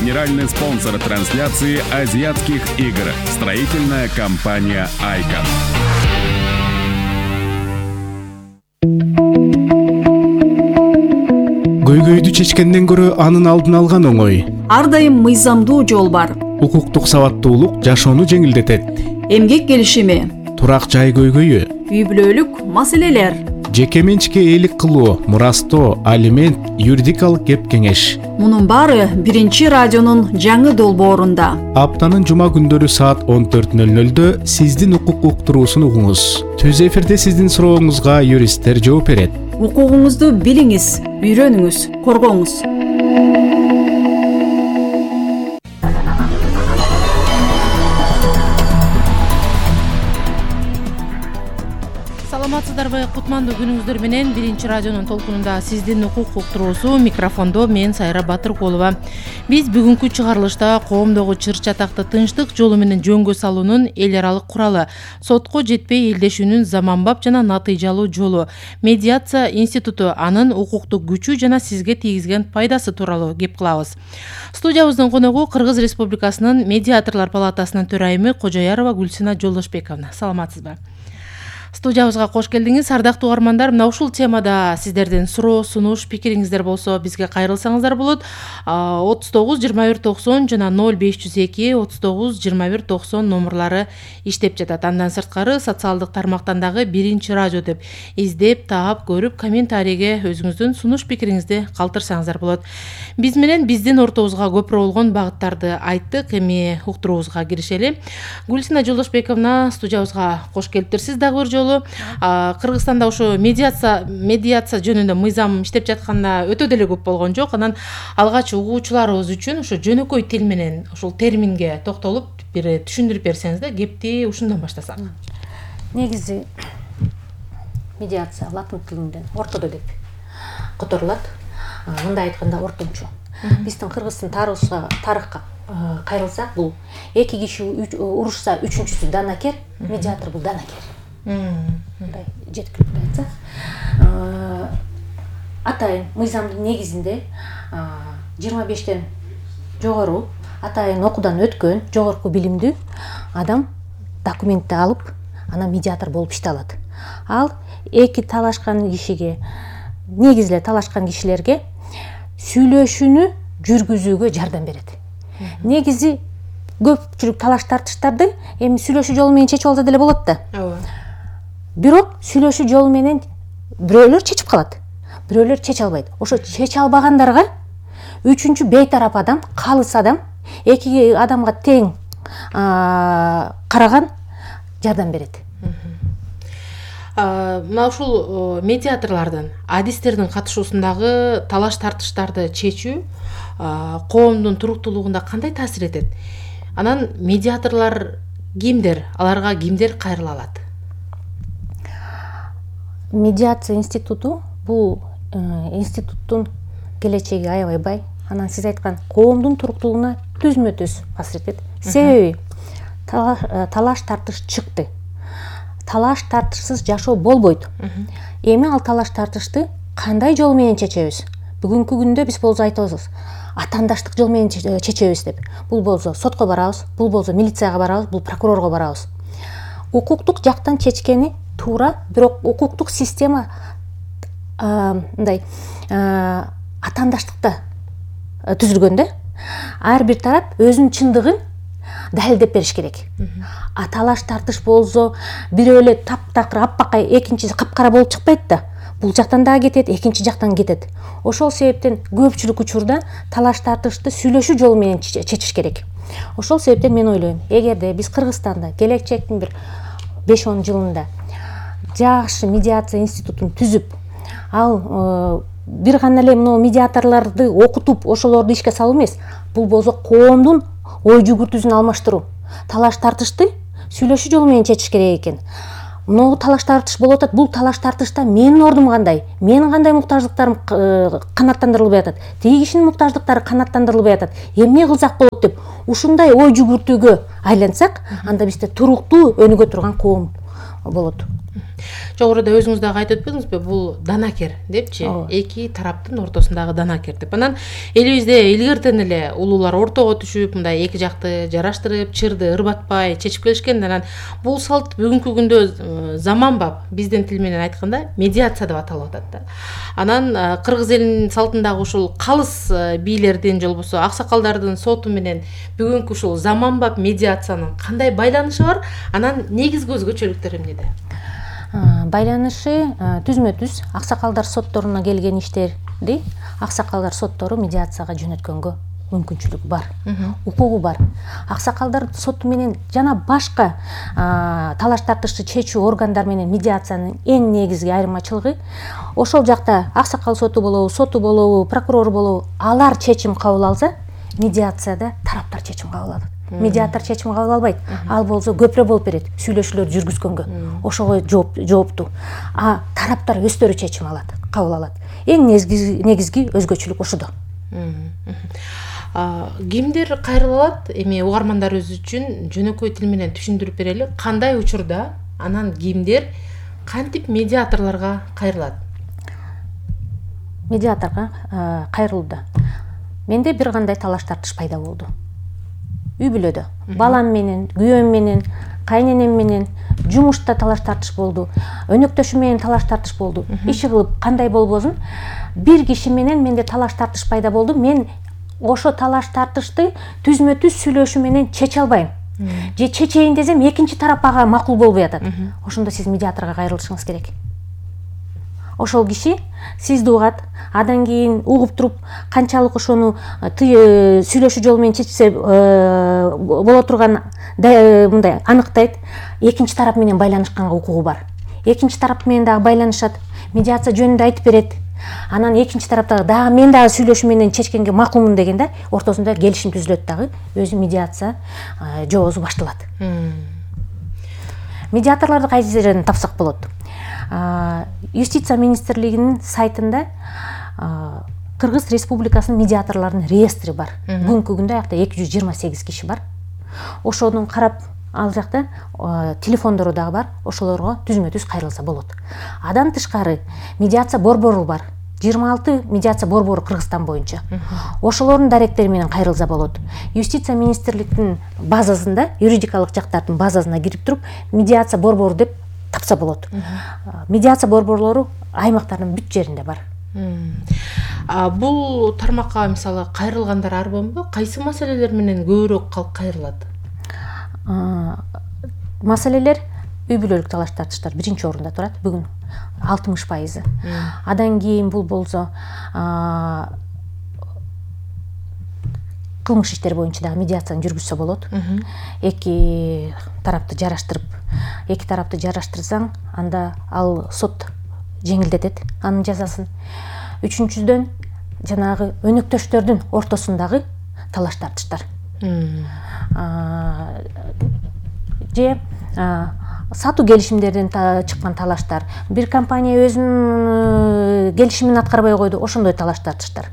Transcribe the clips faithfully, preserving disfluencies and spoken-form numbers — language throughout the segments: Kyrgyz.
Генеральный спонсор трансляции азиатских игр. Строительная компания «Айкон». Көйгөйдү чечкенден көрө анын алдын алган оңой. Ар дайым мыйзамдуу жол бар. Укуктук сабаттуулук жашоону жеңилдетет. Эмгек келишими, турак жай көйгөйү, үй бүлөлүк маселелер, жеке менчикке ээлик кылуу, мурастоо, алимент, юридикалык кеп кеңеш. Мунун баары биринчи радионун жаңы долбоорунда. Аптанын жума күндөрү саат он төрт нөл нөлдө сиздин укук уктуруусун угуңуз. Түз эфирде сиздин сурооңузга юристтер жооп берет. Укугуңузду билиңиз, үйрөнүңүз, коргоңуз. Саламатсыздарбы, кутмандуу күнүңүздөр менен биринчи радионун толкунунда сиздин укук уктуруусу, микрофондо мен Сайра Батыркулова. Биз бүгүнкү чыгарылышта коомдогу чыр чатакты тынчтык жолу менен жөнгө салуунун эл аралык куралы, сотко жетпей элдешүүнүн заманбап жана натыйжалуу жолу, медиация институту, анын укуктук күчү жана сизге тийгизген пайдасы тууралуу кеп кылабыз. Студиябыздын коногу Кыргыз Республикасынын медиаторлор палатасынын төрайымы Кожоярова Гүлсина Жолдошбековна. Саламатсызбы? Студиябызга кош келдиңиз. Ардактуу угармандар, мына ушул темада сиздердин суроо, сунуш, пикириңиздер болсо бизге кайрылсаңыздар болот. отуз тогуз жыйырма бир токсон жана ноль беш жүз эки отуз тогуз жыйырма бир токсон номурлары иштеп жатат. Андан сырткары социалдык тармактан дагы биринчи радио деп издеп, таап, көрүп, комментарийге өзүңүздүн сунуш пикириңизди калтырсаңыздар болот. Биз менен биздин ортобузга көпүрө болгон багыттарды айттык. Эми уктуруубузга киришели. Гүлсина Жолдошбековна, студиябызга кош келиптирсиз дагы бир жолу. Кыргызстанда ошо медиация медиация жөнүндө мыйзам иштеп жатканда өтө деле көп болгон жок. Анан алгач угуучуларыбыз үчүн ошо жөнөкөй тил менен ушул терминге токтолуп бир түшүндүрүп берсеңиз да, кепти ушундан баштасак. Негизи медиация латын тилинен ортодо деп которулат. Мындай айтканда ортомчу. Биздин Кыргыздын тарыхка тарыхка кайрылсак, бул эки киши урушса үчүнчүсү данакер, медиатор бул данакер. Мындай жеткиликтүү айтсак, атайын мыйзамдын негизинде жыйырма бештен жогору атайын окуудан өткөн жогорку билимдүү адам документти алып, анан медиатор болуп иште алат. Ал эки талашкан кишиге, негизи эле талашкан кишилерге сүйлөшүүнү жүргүзүүгө жардам берет. Негизи көпчүлүк талаш тартыштарды эми сүйлөшүү жолу менен чечип алса деле болот да. Ооба. Бирок сүйлөшүү жолу менен бирөөлөр чечип калат, бирөөлөр чече албайт. Ошо чече албагандарга үчүнчү бейтарап адам, калыс адам, эки адамга тең караган жардам берет. Мына ушул медиаторлордун, адистердин катышуусундагы талаш тартыштарды чечүү коомдун туруктуулугунда кандай таасир этет? Анан медиаторлор кимдер? Аларга кимдер кайрыла алат? Медиация институту бул институттун келечеги аябай бай. Анан сиз айткан коомдун туруктуулугуна түзмө-түз таасир этет. Себеби талаш тартыш чыкты. Талаш тартышсыз жашоо болбойт. Эми ал талаш тартышты кандай жол менен чечебиз? Бүгүнкү күндө биз болсо айтабыз, атаандаштык жол менен чечебиз деп. Бул болсо сотко барабыз, бул болсо милицияга барабыз, бул прокурорго барабыз. Укуктук жактан чечкени туура, бирок укуктук система мындай атаандаштыкта түзүлгөн да. Ар бир тарап өзүнүн чындыгын далилдеп бериш керек. А талаш тартыш болсо бирөө эле таптакыр аппакай, экинчиси капкара болуп чыкпайт да. Бул жактан да кетет, экинчи жактан кетет. Ошол себептен көпчүлүк учурда талаш тартышты сүйлөшүү жолу менен чечиш керек. Ошол себептен мен ойлойм, эгерде биз Кыргызстанда келечектин бир беш он жылында жакшы медиация институтун түзүп, ал бир гана эле мына медиаторлорду окутуп, ошолорду ишке салуу эмес, бул болсо коомдун ой жүгүртүүсүн алмаштыруу. Талаш тартышты сүйлөшүү жолу менен чечиш керек экен. Могу талаш тартыш болуп атат. Бул талаш тартышта менин ордум кандай, менин кандай муктаждыктарым канааттандырылбай атат, тиги кишинин муктаждыктары канааттандырылбай атат. Эмне кылсак болот деп ушундай ой жүгүртүүгө айлансак, анда бизде туруктуу өнүгө турган коом болот. Жогоруда өзүңүз дагы айтып өтпөдүңүзбү, бул данакер депчи, эки тараптын ортосундагы данакер деп. Анан элибизде илгертен эле улуулар ортого түшүп, мындай эки жакты жараштырып, чырды ырбатпай чечип келишкен. Анан бул салт бүгүнкү күндө заманбап, биздин тил менен айтканда медиация деп аталып атат да. Анан кыргыз элинин салтындагы ушул калыс бийлердин же болбосо аксакалдардын соту менен бүгүнкү ушул заманбап медиациянын кандай байланышы бар? Анан негизги өзгөчөлүктөрү эмнеде? Байланышы түзмө түз аксакалдар сотторуна келген иштерди аксакалдар соттору медиацияга жөнөткөнгө мүмкүнчүлүгү бар, укугу бар. Аксакалдар соту менен жана башка талаш тартышты чечүү органдар менен медиациянын эң негизги айырмачылыгы ошол жакта аксакал соту болобу, соту болобу, прокурор болобу, алар чечим кабыл алса, медиацияда тараптар чечим кабыл алат. Медиатор чечим кабыл албайт. Ал болсо көпүрө болуп берет сүйлөшүүлөр жүргүзгөнгө. Ошого жооптуу. А тараптар өздөрү чечим алат, кабыл алат. Эң негизги негизги өзгөчөлүк ошодо. Кимдер кайрыла алат? Эми угармандарыбыз үчүн жөнөкөй тил менен түшүндүрүп берели. Кандай учурда анан кимдер кантип медиаторлорго кайрылат? Медиаторго кайрылууда менде бир кандай талаш тартыш пайда болду. Үй бүлөдө балам менен, күйөөм менен, кайненем менен жумушта талаш тартыш болду. Өнөктөшүм менен талаш тартыш болду. Иши кылып кандай болбосун, бир киши менен менде талаш тартыш пайда болду. Мен ошо талаш тартышты түзмө түз сүйлөшүү менен чече албайм. Же чечейин десем, экинчи тарап ага макул болбой атат. Ошондо сиз медиаторго кайрылышыңыз керек. Ошол киши сизди угат, андан кийин угуп туруп канчалык ошону сүйлөшүү жолу менен чечсе боло турган мындай аныктайт. Экинчи тарап менен байланышканга укугу бар. Экинчи тарап менен дагы байланышат, медиация жөнүндө айтып берет. Анан экинчи тараптагы дагы мен дагы сүйлөшүү менен чечкенге макулмун дегенде ортосунда келишим түзүлөт, дагы өзү медиация жоозу башталат. Медиаторлорду кайсы жерден тапсак болот? Юстиция министрлигинин сайтында Кыргыз Республикасынын медиаторлорунун реестри бар. Бүгүнкү күндө аякта эки жүз жыйырма сегиз киши бар. Ошону карап, ал жакта телефондору дагы бар. Ошолорго түзмө түз кайрылса болот. Адан тышкары медиация борбору бар. жыйырма алты медиация борбору Кыргызстан боюнча. Ошолордун даректери менен кайрылса болот. Юстиция министрлигинин базасында, юридикалык жактардын базасына кирип туруп, медиация борбору деп тапса болот. Медиация борборлору аймактардын бүт жеринде бар. Бул тармакка мисалы кайрылгандар ар болбойбу? Кайсы маселелер менен көбүрөөк калк кайрылат? Маселелер үй бүлөлүк талаш тартыштар биринчи орунда турат. Бүгүн алтымыш пайызы. Адан кийин бул болсо кылмыш иштери боюнча дагы медиацияны жүргүзсө болот. Эки тарапты жараштырып, эки тарапты жараштырсаң, анда ал сот жеңилдетет анын жазасын. Үчүнчүдөн жанагы өнөктөштөрдүн ортосундагы талаш тартыштар. Же сатуу келишимдерден чыккан талаштар, бир компания өзүнүн келишимин аткарбай койду, ошондой талаш тартыштар.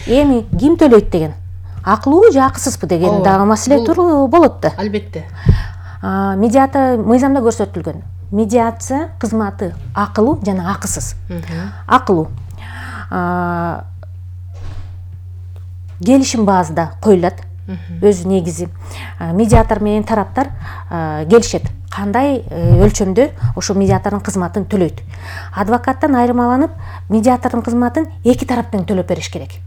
Эми ким төлөйт деген, акылуу же акысызбы деген дагы маселе болот да. Албетте. Медиация мыйзамда көрсөтүлгөн. Медиация кызматы акылуу жана акысыз. Акылуу келишим базада коюлат. Өзү негизи медиатор менен тараптар келишет. Кандай өлчөмдө ошо медиатордун кызматын төлөйт. Адвокаттан айырмаланып, медиатордун кызматын эки тараптан төлөп бериш керек.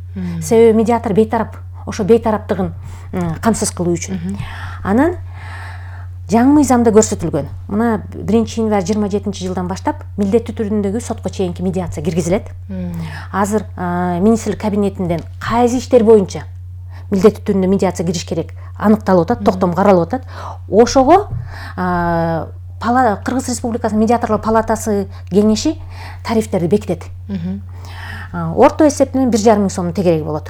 Себеби медиатор бейтарап, ошо бейтараптыгын камсыз кылуу үчүн. Анан жаңы мыйзамда көрсөтүлгөн. Мына биринчи январь жыйырма жетинчи жылдан баштап милдеттүү түрүндөгү сотко чейинки медиация киргизилет. Азыр министрлик кабинетинден кайсы иштер боюнча милдеттүү түрүндө медиация кириш керек аныкталып атат, токтом каралып атат. Ошого Кыргыз Республикасынын медиаторлор палатасы кеңеши тарифтерди бекитет. Орто эсеп менен бир жарым миң сомдун тегереги болот.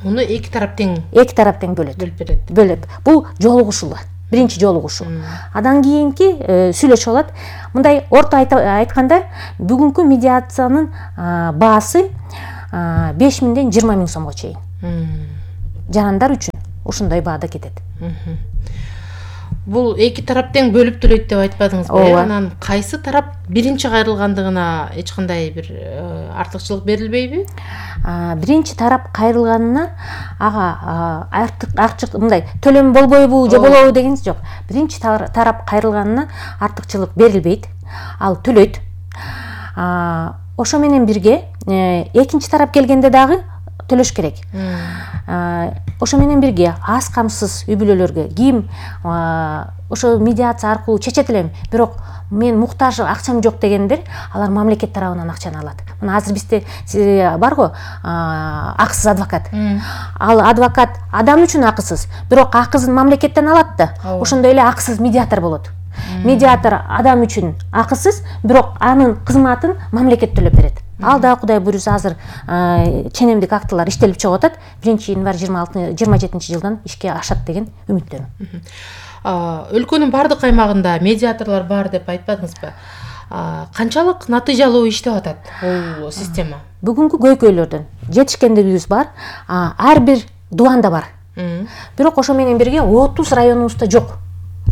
Муну эки тарап тең эки тарап тең бөлөт. Бөлүп берет. Бөлөп. Бул жолугушуу. Биринчи жолугушуу. Адан кийинки сүйлөшүү болот. Мындай орто айтканда, бүгүнкү медиациянын баасы беш миңден жыйырма миң сомго чейин. Жарандар үчүн ушундай баада кетет. бул эки тарап тең бөлүп төлөйт деп айтпадыңызбы? Ооба. Анан кайсы тарап биринчи кайрылгандыгына эч кандай бир артыкчылык берилбейби? Биринчи тарап кайрылганына ага артык артык мындай төлөм болбойбу же болобу дегенсиз жок. Биринчи тарап кайрылганына артыкчылык берилбейт. Ал төлөйт. Ошо менен бирге экинчи тарап келгенде дагы төлөш керек. Ошо менен бирге аз камсыз үй бүлөлөргө ким ошо медиация аркылуу чечет элем, бирок мен муктаж, акчам жок дегендер, алар мамлекет тарабынан акчаны алат. Мына азыр бизде барго акысыз адвокат. Ал адвокат адам үчүн акысыз, бирок акысын мамлекеттен алат да. Ошондой эле акысыз медиатор болот. Медиатор адам үчүн акысыз, бирок анын кызматын мамлекет төлөп берет. Ал да Кудай буйруса азыр ченемдик актылар иштелип чыгып атат. биринчи январь жыйырма жетинчи жылдан ишке ашат деген үмүттөмүн. Өлкөнүн бардык аймагында медиаторлор бар деп айтпадыңызбы? Канчалык натыйжалуу иштеп атат бул система? Бүгүнкү көйкөйлөрдөн жетишкендигибиз бар. Ар бир дубанда бар. Бирок ошо менен бирге отуз районубузда жок.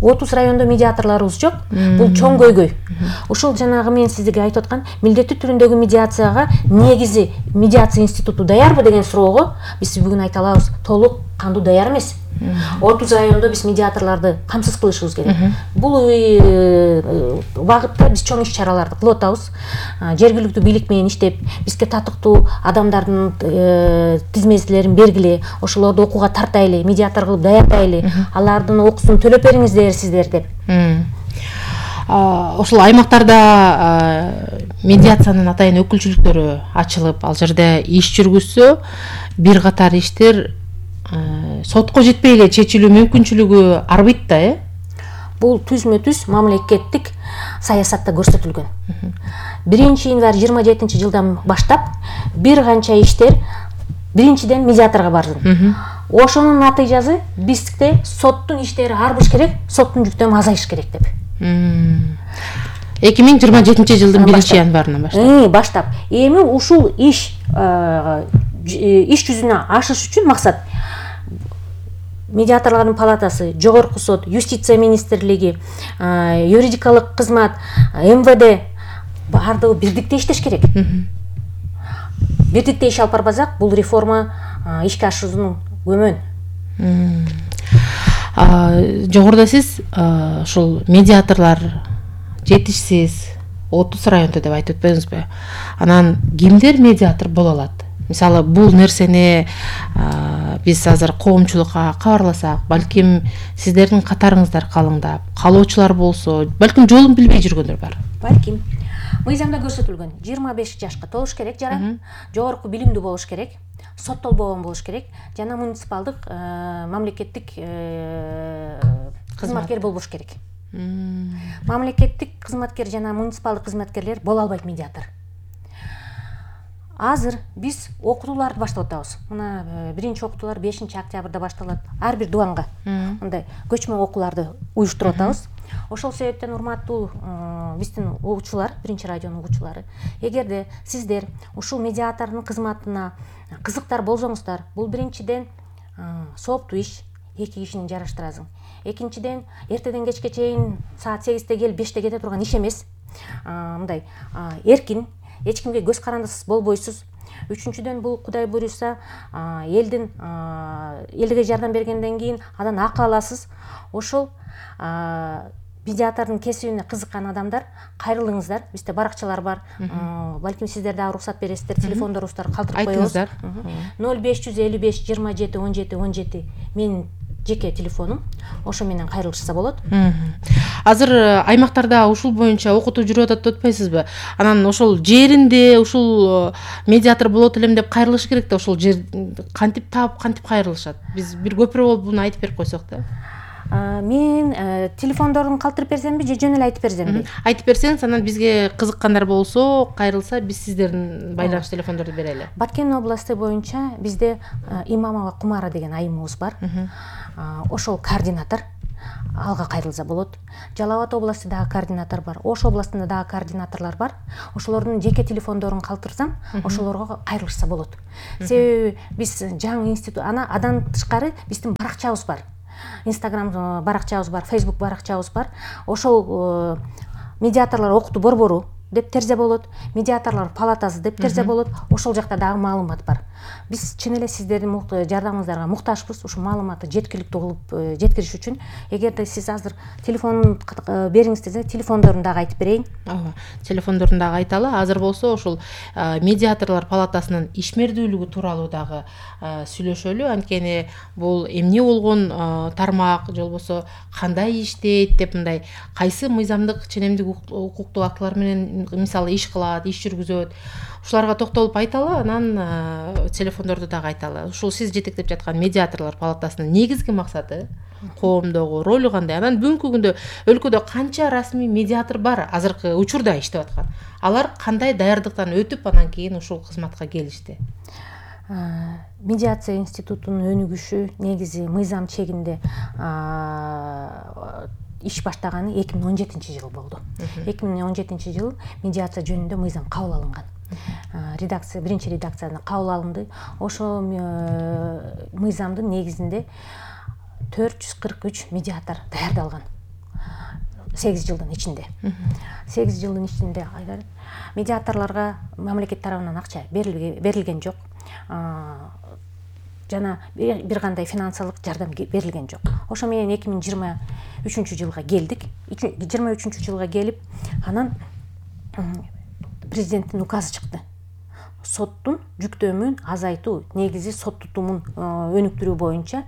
отуз райондо медиаторлорубуз жок. Бул чоң көйгөй. Ушул жанагы мен сизге айтып аткан милдеттүү түрүндөгү медиацияга негизи медиация институту даярбы деген суроого биз бүгүн айта алабыз, толук кандуу даяр эмес. отуз райондо биз медиаторлорду камсыз кылышыбыз керек. Бул багытта биз чоң иш-чараларды кылып атабыз. Жергиликтүү бийлик менен иштеп, бизге татыктуу адамдардын тизмелерин бергиле, ошолорду окууга тартайлы, медиатор кылып даярдайлы, алардын окуусун төлөп бериңиздер сиздер деп. Ошол аймактарда медиациянын атайын өкүлчүлүктөрү ачылып, ал жерде иш жүргүзсө, бир катар иштер сотко жетпей эле чечилүү мүмкүнчүлүгү арбыйт да, э? Бул түзмө-түз мамлекеттик саясатта көрсөтүлгөн. биринчи январь жыйырма жетинчи жылдан баштап бир канча иштер биринчиден медиаторго бардым. Ошонун натыйжасы бизде соттун иштери арбыш керек, соттун жүктөмү азайыш керек деп. эки миң жыйырма жетинчи жылдын биринчи январынан баштап. Баштап. Эми ушул иш иш жүзүнө ашыш үчүн максат медиаторлордун палатасы, жогорку сот, юстиция министрлиги, юридикалык кызмат, эм вэ дэ баардыгы бирдикте иштеш керек. Бирдикте иш алып барбасак, бул реформа ишке ашуунун көмөн. Жогоруда сиз ушул медиаторлор жетишсиз отуз райондо деп айтып өтпөдүңүзбү? Анан кимдер медиатор боло алат? Мисалы, бул нерсени биз азыр коомчулукка кабарласак, балким сиздердин катарыңыздар калыңдап, каалоочулар болсо, балким жолун билбей жүргөндөр бар. Балким. Мыйзамда көрсөтүлгөн жыйырма беш жашка толуш керек жара, жогорку билимдүү болуш керек, соттолбогон болуш керек, жана муниципалдык мамлекеттик кызматкер болбош керек. Мамлекеттик кызматкер жана муниципалдык кызматкерлер боло албайт медиатор. Азыр биз окутууларды баштап атабыз. Мына биринчи окутуулар бешинчи октябрда башталат. Ар бир дубанга мындай көчмө окууларды уюштуруп атабыз. Ошол себептен урматтуу биздин угуучулар, биринчи радионун угуучулары, эгерде сиздер ушул медиатордун кызматына кызыктар болсоңуздар, бул биринчиден сооптуу иш, эки кишини жараштырасың. Экинчиден, эртеден кечке чейин саат сегизде кел, беште кете турган иш эмес. Мындай эркин, эч кимге көз карандысыз болбойсуз. Үчүнчүдөн, бул Кудай буйруса элдин элге жардам бергенден кийин андан акы аласыз. Ошол медиатордун кесибине кызыккан адамдар кайрылыңыздар. Бизде баракчалар бар. Балким сиздер дагы уруксат бересиздер, телефондорубуздар калтырып коебуз. ноль беш жүз элүү беш жыйырма жети он жети он жети менин жеке телефонум. Ошо менен кайрылышса болот. Азыр аймактарда ушул боюнча окутуу жүрүп атат деп атпайсызбы? Анан ошол жеринде ушул медиатор болот элем деп кайрылыш керек да, ошол жер кантип таап, кантип кайрылышат? Биз бир көпүрө болуп буну айтып берип койсок да. Мен телефондорун калтырып берсемби же жөн эле айтып берсемби? Айтып берсеңиз, анан бизге кызыккандар болсо, кайрылса, биз сиздердин байланыш телефондорду берели. Баткен областы боюнча бизде Имамова Кумара деген айымыбыз бар. Ошол координатор, алга кайрылса болот. Жалал Абад областындагы координатор бар. Ош областында дагы координаторлор бар. Ошолордун жеке телефондорун калтырсам, ошолорго кайрылышса болот. Себеби биз жаңы институт, ана адан тышкары биздин баракчабыз бар. Инстаграм баракчабыз бар, Фейсбук баракчабыз бар. Ошол медиаторлор окутуу борбору деп терзе болот, медиаторлор палатасы деп терзе болот. Ошол жакта дагы маалымат бар. Биз чын эле сиздердин жардамыңыздарга муктажбыз. Ушул маалыматты жеткиликтүү кылып жеткириш үчүн. Эгерде сиз азыр телефон бериңиз десе, телефондорун дагы айтып берейин. Ооба, телефондорун дагы айталы. Азыр болсо ушул медиаторлор палатасынын ишмердүүлүгү тууралуу дагы сүйлөшөлү. Анткени бул эмне болгон тармак, же болбосо кандай иштейт деп, мындай кайсы мыйзамдык ченемдик укуктук актылар менен мисалы иш кылат, иш жүргүзөт. Ушуларга токтолуп айталы, анан телефондорду дагы айталы. Ушул сиз жетектеп жаткан медиаторлор палатасынын негизги максаты, коомдогу ролу кандай? Анан бүгүнкү күндө өлкөдө канча расмий медиатор бар азыркы учурда иштеп аткан? Алар кандай даярдыктан өтүп анан кийин ушул кызматка келишти? Медиация институтунун өнүгүшү негизи мыйзам чегинде иш баштаганы эки миң он жетинчи жыл болду. эки миң он жетинчи жылы медиация жөнүндө мыйзам кабыл алынган. Редакция, биринчи редакциядан кабыл алынды. Ошол мыйзамдын негизинде төрт жүз кырк үч медиатор даярдалган. сегиз жылдын ичинде. сегиз жылдын ичинде медиаторлорго мамлекет тарабынан акча берилген жок. Жана бир кандай финансылык жардам берилген жок. Ошо менен эки миң жыйырма үчүнчү жылга келдик. жыйырма үчүнчү жылга келип, анан президенттин указы чыкты. Соттун жүктөмүн азайтуу, негизи сот тутумун өнүктүрүү боюнча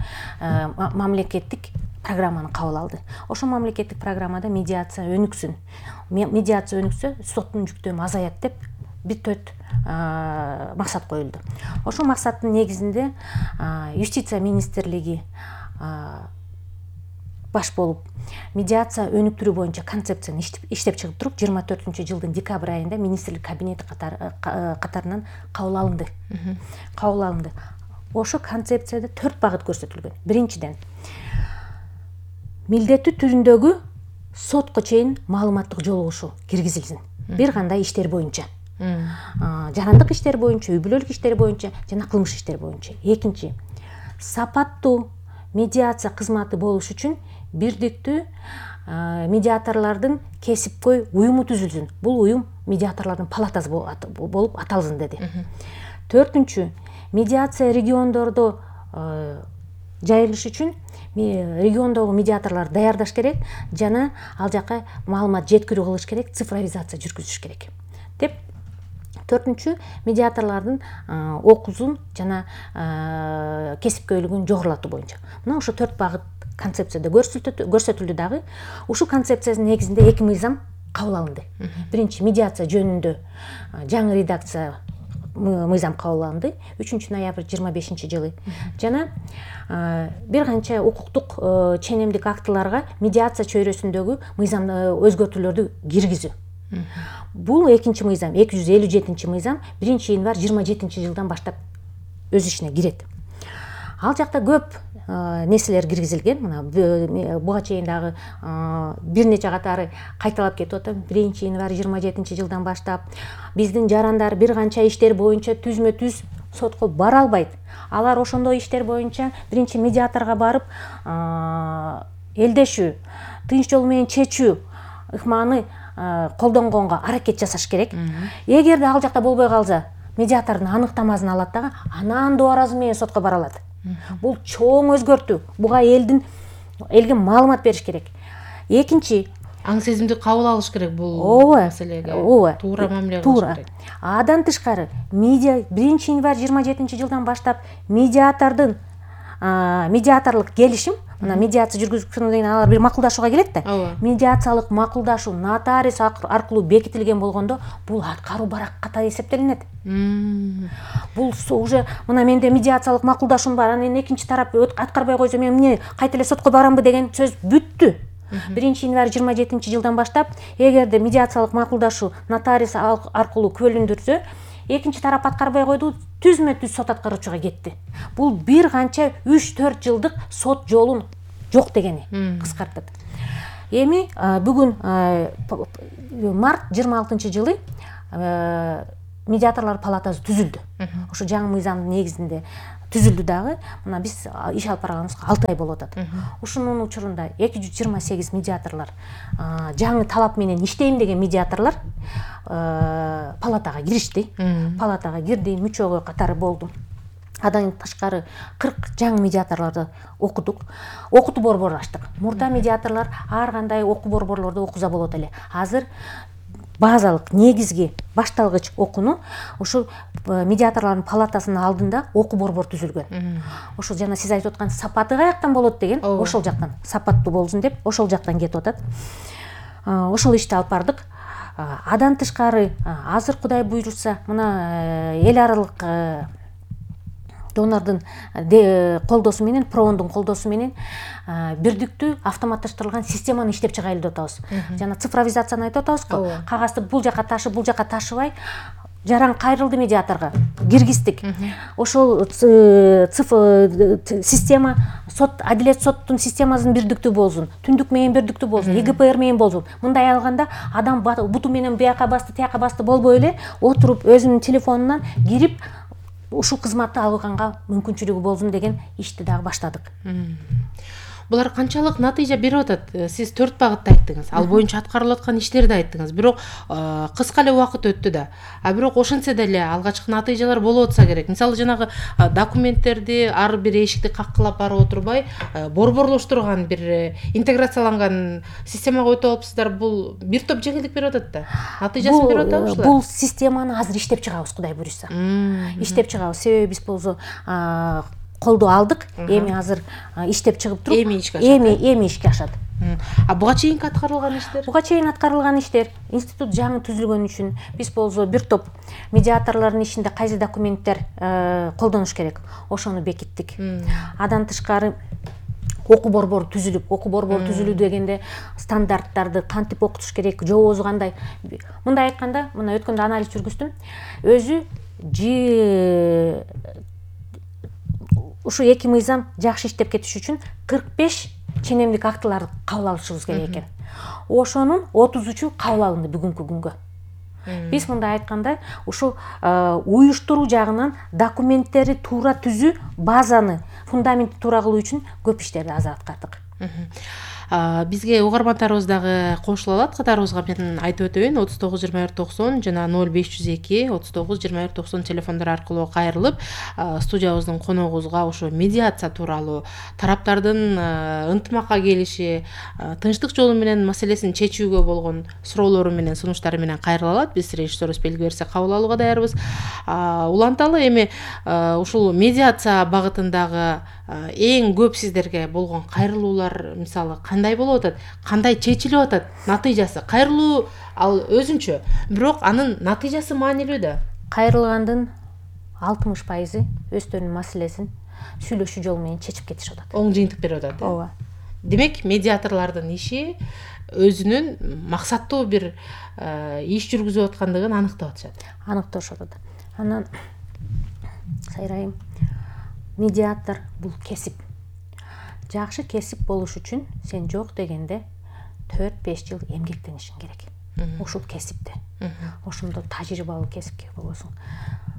мамлекеттик программаны кабыл алды. Ошол мамлекеттик программада медиация өнүксүн. Медиация өнүксө, соттун жүктөмү азаят деп бир төрт максат коюлду. Ошол максаттын негизинде юстиция министрлиги баш болуп медиация өнүктүрүү боюнча концепцияны иштеп чыгып туруп, жыйырма төртүнчү жылдын декабрь айында министрлик кабинети катарынан кабыл алынды. Кабыл алынды. Ошо концепцияда төрт багыт көрсөтүлгөн. Биринчиден, милдеттүү түрүндөгү сотко чейин маалыматтык жолугушуу киргизилсин. Бир кандай иштер боюнча. Жарандык иштер боюнча, үй бүлөлүк иштер боюнча жана кылмыш иштер боюнча. Экинчи, сапаттуу медиация кызматы болуш үчүн бирдиктүү медиаторлордун кесипкөй уюму түзүлсүн. Бул уюм медиаторлордун палатасы болуп аталсын деди. Төртүнчү, медиация региондордо жайылыш үчүн региондогу медиаторлор даярдаш керек жана ал жака маалымат жеткирүү кылыш керек, цифровизация жүргүзүш керек деп. Төртүнчү, медиаторлордун окуусун жана кесипкөйлүгүн жогорулатуу боюнча. Мына ошо төрт багыт концепцияда көрсөтүлдү дагы. Ушул концепциянын негизинде эки мыйзам кабыл алынды. Биринчи, медиация жөнүндө жаңы редакция мыйзам кабыл алынды үчүнчү ноябрь жыйырма бешинчи жылы. Жана бир канча укуктук ченемдик актыларга медиация чөйрөсүндөгү мыйзам өзгөртүүлөрдү киргизүү. Бул экинчи мыйзам, эки жүз элүү жетинчи мыйзам биринчи январь жыйырма жетинчи жылдан баштап өз ишине кирет. Ал жакта көп нерселер киргизилген. Мына буга чейин дагы бир нече катары кайталап кетип атам. биринчи январь жыйырма жетинчи жылдан баштап биздин жарандар бир канча иштер боюнча түзмө түз сотко бара албайт. Алар ошондой иштер боюнча биринчи медиаторго барып элдешүү, тынч жол менен чечүү ыкманы колдонгонго аракет жасаш керек. Эгерде ал жакта болбой калса, медиатордун аныктамасын алат дагы, анан дубаразы менен сотко бара алат. Бул чоң өзгөртүү. Буга элдин элге маалымат бериш керек. Экинчи, аң сезимди кабыл алыш керек бул маселеге. Туура мамиле кылыш керек. Адан тышкары, медиа биринчи январь жыйырма жетинчи жылдан баштап медиатордун медиаторлук келишим, мына медиация жүргүзүлгөндөн кийин алар бир макулдашууга келет да. Медиациялык макулдашуу нотариус аркылуу бекитилген болгондо бул аткаруу барак катары эсептелинет. Бул уже мына менде медиациялык макулдашуум бар, анан экинчи тарап аткарбай койсо мен эмне кайта эле сотко барамбы деген сөз бүттү. биринчи январь жыйырма жетинчи жылдан баштап эгерде медиациялык макулдашуу нотариус аркылуу күбөлөндүрсө, экинчи тарап аткарбай койду, түзмө түз сот аткаруучуга кетти. Бул бир канча үч төрт жылдык сот жолун жок дегени кыскартат. Эми бүгүн март жыйырма алтынчы жылы медиаторлор палатасы түзүлдү. Ошо жаңы мыйзамдын негизинде түзүлдү дагы. Мына биз иш алып барганыбызга алты ай болуп атат. Ушунун учурунда эки жүз жыйырма сегиз медиаторлор, жаңы талап менен иштейм деген медиаторлор палатага киришти. Палатага кирди, мүчөгө катары болду. Адан тышкары кырк жаңы медиаторлорду окудук. Окутуу борбору ачтык. Мурда медиаторлор ар кандай окуу борборлордо окуза болот эле. Азыр базалык, негизги, башталгыч окууну ушул медиаторлордун палатасынын алдында окуу борбор түзүлгөн. Ошол жана сиз айтып аткан сапаты каяктан болот деген, ошол жактан сапаттуу болсун деп, ошол жактан кетип атат. Ошол ишти алып бардык. Адан тышкары азыр Кудай буйрса, мына эл аралык донордун колдоосу менен, Проондун колдоосу менен бирдиктүү автоматташтырылган системаны иштеп чыгайлы деп атабыз. Жана цифровизацияны айтып атабызго, кагазды бул жака ташып, бул жака ташыбай, жаран кайрылды медиаторго киргиздик. Ошол система сот, адилет соттун системасын бирдиктүү болсун, түндүк менен бирдиктүү болсун, И Г П Р менен болсун. Мындай алганда адам буту менен бияка басты, тияка басты болбой эле отуруп өзүнүн телефонунан кирип ушул кызматты алганга мүмкүнчүлүгү болсун деген ишти дагы баштадык. Булар канчалык натыйжа берип атат? Сиз төрт багытты айттыңыз. Ал боюнча аткарылып аткан иштерди айттыңыз. Бирок кыска эле убакыт өттү да. А бирок ошентсе деле алгачкы натыйжалар болуп атса керек. Мисалы жанагы документтерди ар бир эшикти каккылап барып отурбай, борборлоштурган бир интеграцияланган системага өтүп алыпсыздар. Бул бир топ жеңилдик берип атат да. Натыйжасын берип атабы ушулар? Бул системаны азыр иштеп чыгабыз, Кудай буйрса. Иштеп чыгабыз. Себеби биз болсо колдоо алдык. Эми азыр иштеп чыгып туруп, эми ишке ашат. Эми эми ишке ашат. А буга чейинки аткарылган иштер? Буга чейин аткарылган иштер, институт жаңы түзүлгөн үчүн биз болсо бир топ медиаторлордун ишинде кайсы документтер колдонуш керек, ошону бекиттик. Адан тышкары окуу борбору түзүлүп, окуу борбору түзүлүү дегенде стандарттарды кантип окутуш керек, жообусу кандай. Мындай айтканда, мына өткөндө анализ жүргүздүм. Өзү жи ушу эки мыйзам жакшы иштеп кетиш үчүн кырк беш ченемдик актыларды кабыл алышыбыз керек экен. Ошонун отузучу кабыл алынды бүгүнкү күнгө. Биз мындай айтканда, ушул уюштуруу жагынан документтери туура түзүү, базаны, фундаментти туура кылуу үчүн көп иштерди азыр аткардык. Бизге угармандарыбыз дагы кошула алат. Катарыбызга мен айтып өтөйүн, отуз тогуз жыйырма бир токсон жана ноль беш жүз эки отуз тогуз жыйырма бир токсон телефондор аркылуу кайрылып, студиябыздын коногубузга ошо медиация тууралуу, тараптардын ынтымакка келиши, тынчтык жолу менен маселесин чечүүгө болгон суроолору менен, сунуштары менен кайрыла алат. Биз режиссерибиз белги берсе кабыл алууга даярбыз. Уланталы эми ушул медиация багытындагы эң көп сиздерге болгон кайрылуулар мисалы кандай болуп атат, кандай чечилип атат, натыйжасы? Кайрылуу ал өзүнчө, бирок анын натыйжасы маанилүү да. Кайрылгандын алтымыш пайызы өздөрүнүн маселесин сүйлөшүү жолу менен чечип кетишип атат. Оң жыйынтык берип атат. Ооба. Демек, медиаторлордун иши өзүнүн максаттуу бир иш жүргүзүп аткандыгын аныктап атышат. Аныкташып атат. Анан сайрайым, медиатор бул кесип. Жакшы кесип болуш үчүн сен жок дегенде төрт беш жыл эмгектенишиң керек. Ушул кесипте. Ошондо тажрыйбалуу кесипке болосуң.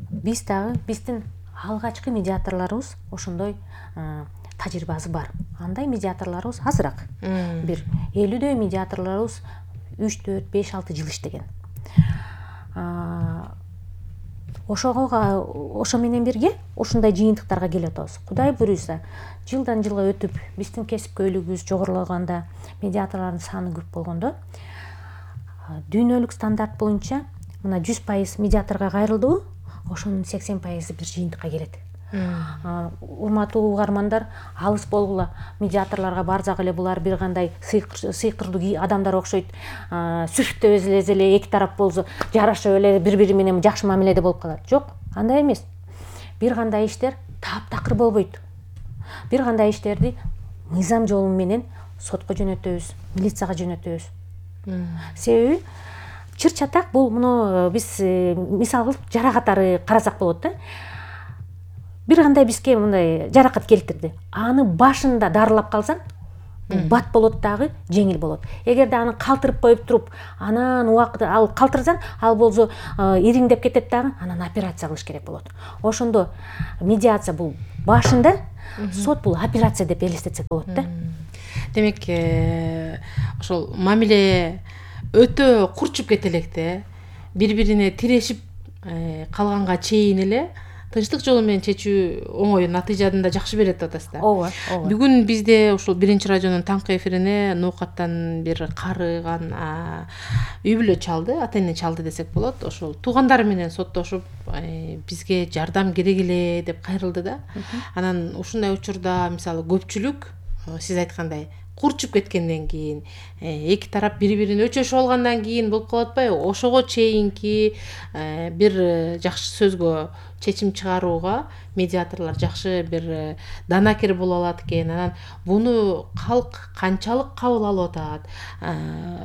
Биз дагы биздин алгачкы медиаторлорубуз ошондой тажрыйбасы бар. Андай медиаторлорубуз азыраак. Бир элүүдөй медиаторлорубуз үч төрт беш алты жыл иштеген. Ошого ошо менен бирге ушундай жыйынтыктарга келип атабыз. Кудай буйрса, жылдан жылга өтүп, биздин кесипкөйлүгүбүз жогорулаганда, медиаторлордун саны көп болгондо, дүйнөлүк стандарт боюнча мына жүз пайыз медиаторго кайрылдыбы, ошонун сексен пайызы бир жыйынтыкка келет. Урматтуу угармандар, алыс болгула, медиаторлорго барсак эле булар бир кандай сыйкырдуу адамдар окшойт. Сүрүптөп эзелесе эле эки тарап болсо жарашып эле бири-бири менен жакшы мамиледе болуп калат. Жок, андай эмес. Бир кандай иштер таптакыр болбойт. Бир кандай иштерди мыйзам жолу менен сотко жөнөтөбүз, милицияга жөнөтөбүз. Себеби чыр-чатак бул муну биз мисал кылып жара катары карасак болот да. Бир кандай бизге мындай жаракат келтирди. Аны башында дарылап калсаң, бат болот дагы жеңил болот. Эгерде аны калтырып коюп туруп, анан убакыт ал калтырсаң, ал болсо ириңдеп кетет дагы, анан операция кылыш керек болот. Ошондо медиация бул башында, сот бул операция деп элестетсек болот да. Демек, ошол мамиле өтө курчуп кете электе, бири-бирине тирешип калганга чейин эле тынчтык жолу менен чечүү оңой натыйжаны да жакшы берет деп атасыз да. Ооба, ооба. Бүгүн бизде ушул биринчи радионун таңкы эфирине ноокаттан бир карыган үй бүлө чалды, ата эне чалды десек болот. Ошол туугандары менен соттошуп, бизге жардам керек эле деп кайрылды да. Анан ушундай учурда мисалы көпчүлүк сиз айткандай курчуп кеткенден кийин, эки тарап бири-бирин өчөшүп алгандан кийин болуп калып атпайбы? Ошого чейинки бир жакшы сөзгө чечим чыгарууга медиаторлор жакшы бир данакер боло алат экен. Анан буну калк канчалык кабыл алып атат?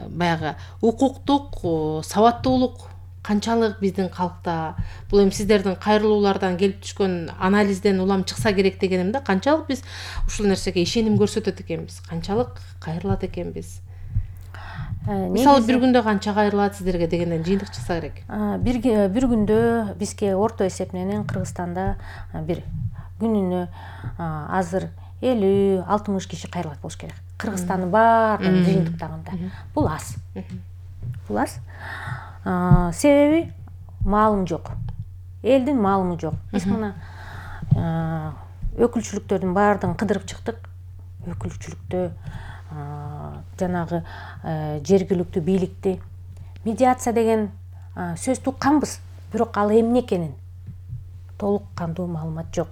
Баягы укуктук сабаттуулук канчалык биздин калкта? Бул эми сиздердин кайрылуулардан келип түшкөн анализден улам чыкса керек дегеним да. Канчалык биз ушул нерсеге ишеним көрсөтөт экенбиз? Канчалык кайрылат экенбиз? Мисалы бир күндө канча кайрылат сиздерге дегенден жыйынтык чыкса керек. Бир бир күндө бизге орто эсеп менен Кыргызстанда бир күнүнө азыр элүү алтымыш киши кайрылат болуш керек. Кыргызстандын баардыгын жыйынтыктаганда. Бул аз. Бул аз. Себеби маалым жок. Элдин маалымы жок. Биз мына өкүлчүлүктөрдүн баардыгын кыдырып чыктык. Өкүлчүлүктө жанагы жергиликтүү бийликти медиация деген сөз тукканбыз, бирок ал эмне экенин толук кандуу маалымат жок.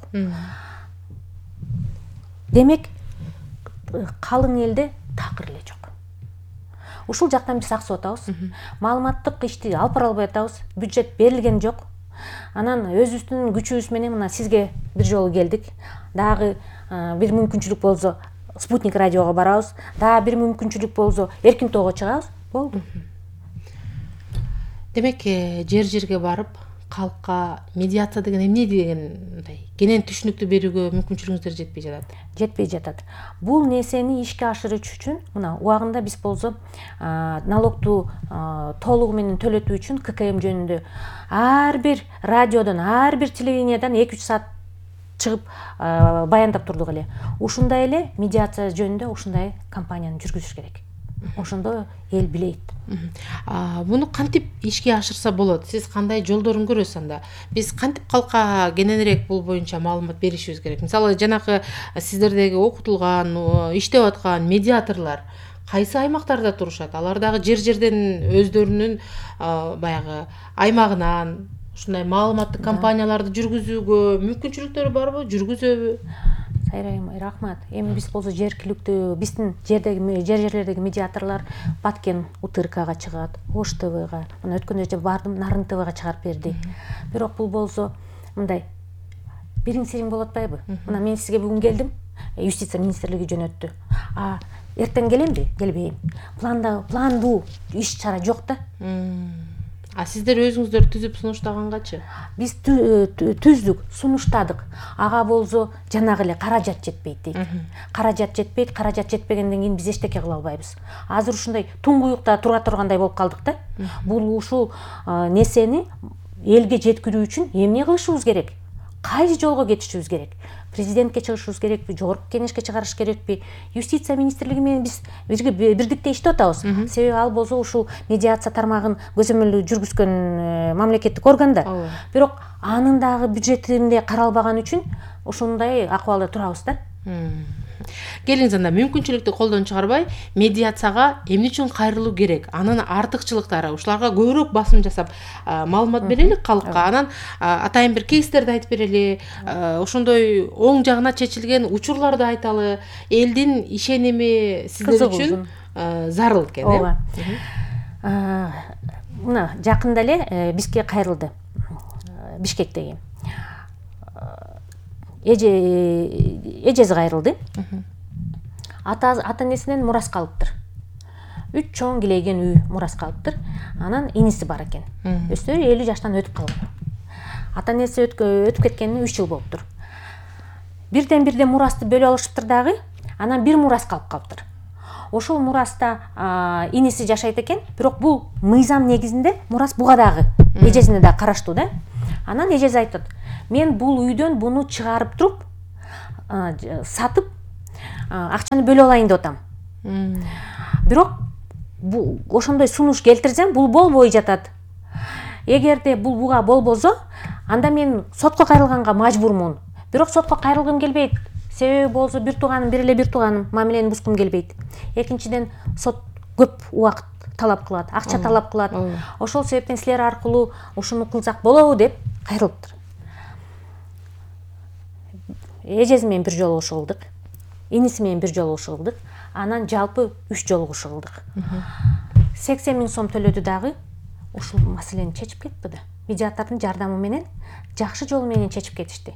Демек, калың элде такыр эле жок. Ушул жактан биз аксып атабыз. Маалыматтык ишти алып бара албай атабыз. Бюджет берилген жок. Анан өзүбүздүн күчүбүз менен мына сизге бир жолу келдик. Дагы бир мүмкүнчүлүк болсо Спутник радиого барабыз. Дагы бир мүмкүнчүлүк болсо Эркин тоого чыгабыз. Болду. Демек, жер жерге барып, калкка медиация деген эмне дегендай кенен түшүнүктүү берүүгө мүмкүнчүлүгүңүздөр жетпей жатат. Жетпей жатат. Бул нерсени ишке ашырыш үчүн мына убагында биз болсо налогту толугу менен төлөтүү үчүн ка ка эм жөнүндө ар бир радиодон, ар бир телевидениеден эки үч саат чыгып баяндап турдук эле. Ушундай эле медиация жөнүндө ушундай кампанияны жүргүзүш керек. Ошондо эл билет. Буну кантип ишке ашырса болот? Сиз кандай жолдорун көрөсүз анда? Биз кантип калкка кененирээк бул боюнча маалымат беришибиз керек? Мисалы, жанакы сиздердеги окутулган, иштеп аткан медиаторлор кайсы аймактарда турушат? Алар дагы жер-жерден өздөрүнүн баягы аймагынан ушундай маалыматтык кампанияларды жүргүзүүгө мүмкүнчүлүктөрү барбы, жүргүзөбү? Сайрайым, рахмат. Эми биз болсо жергиликтүү, биздин жердеги жер жерлердеги медиаторлор Баткен УТРКга чыгат, Ош ТВга, мына өткөн эже бардым, Нарын ТВга чыгарып берди. Бирок бул болсо мындай бириң сириң болуп атпайбы? Мына мен сизге бүгүн келдим, юстиция министрлиги жөнөттү. А эртең келемби? Келбейм. Планда, пландуу иш чара жок да. А сиздер өзүңүздөр түзүп сунуштагангачы? Биз түздүк, сунуштадык. Ага болсо жанагы эле каражат жетпейт дейт. Каражат жетпейт, каражат жетпегенден кийин биз эчтеке кыла албайбыз. Азыр ушундай туңгуюкта тура тургандай болуп калдык да. Бул ушул нерсени элге жеткирүү үчүн эмне кылышыбыз керек? Кайсы жолго кетишибиз керек? Президентке чыгышыбыз керекпи, жогорку кеңешке чыгарыш керекпи? Юстиция министрлиги менен биз бирдикте иштеп атабыз. Себеби ал болсо ушул медиация тармагын көзөмөлдөө жүргүзгөн мамлекеттик орган да. Бирок анын дагы бюджетинде каралбаган үчүн ушундай акыбалда турабыз да. Келиңиз анда мүмкүнчүлүктү колдон чыгарбай, медиацияга эмне үчүн кайрылуу керек? Анын артыкчылыктары, ушуларга көбүрөөк басым жасап, маалымат берелик калкка. Анан атайын бир кейстерди айтып берели, ошондой оң жагына чечилген учурларды айталы. Элдин ишеними сиздер үчүн зарыл экен, э? Ооба. Мына жакында эле бизге кайрылды. Бишкектеги эже эжеси кайрылды. Ата ата энесинен мурас калыптыр. Үч чоң килейген үй мурас калыптыр. Анан иниси бар экен. Өздөрү элүү жаштан өтүп калган. Ата энеси өтүп кеткенине үч жыл болуптур. Бирден бирден мурасты бөлүп алышыптыр дагы. Анан бир мурас калып калыптыр. ошол мураста иниси жашайт экен, бирок бул мыйзам негизинде мурас буга дагы эжесине да караштуу да. Анан эжеси айтат: мен бул үйдөн буну чыгарып туруп сатып акчаны бөлүп алайын деп атам. Бирок бул ошондой сунуш келтирсем, бул болбой жатат. Эгерде бул буга болбосо, анда мен сотко кайрылганга мажбурмун. Бирок сотко кайрылгым келбейт. Себеби болсо бир тууганым, бир эле бир тууганым, мамилени бузгум келбейт. Экинчиден, сот көп убакыт талап кылат, акча талап кылат. Ошол себептен силер аркылуу ушуну кылсак болобу деп кайрылыптыр. Эжеси менен бир жолу ушулдук, иниси менен бир жолу ушулдук, анан жалпы үч жолу ушулдук. сексен миң сом төлөдү дагы, ушул маселени чечип кетти да. Медиатордун жардамы менен жакшы жол менен чечип кетишти.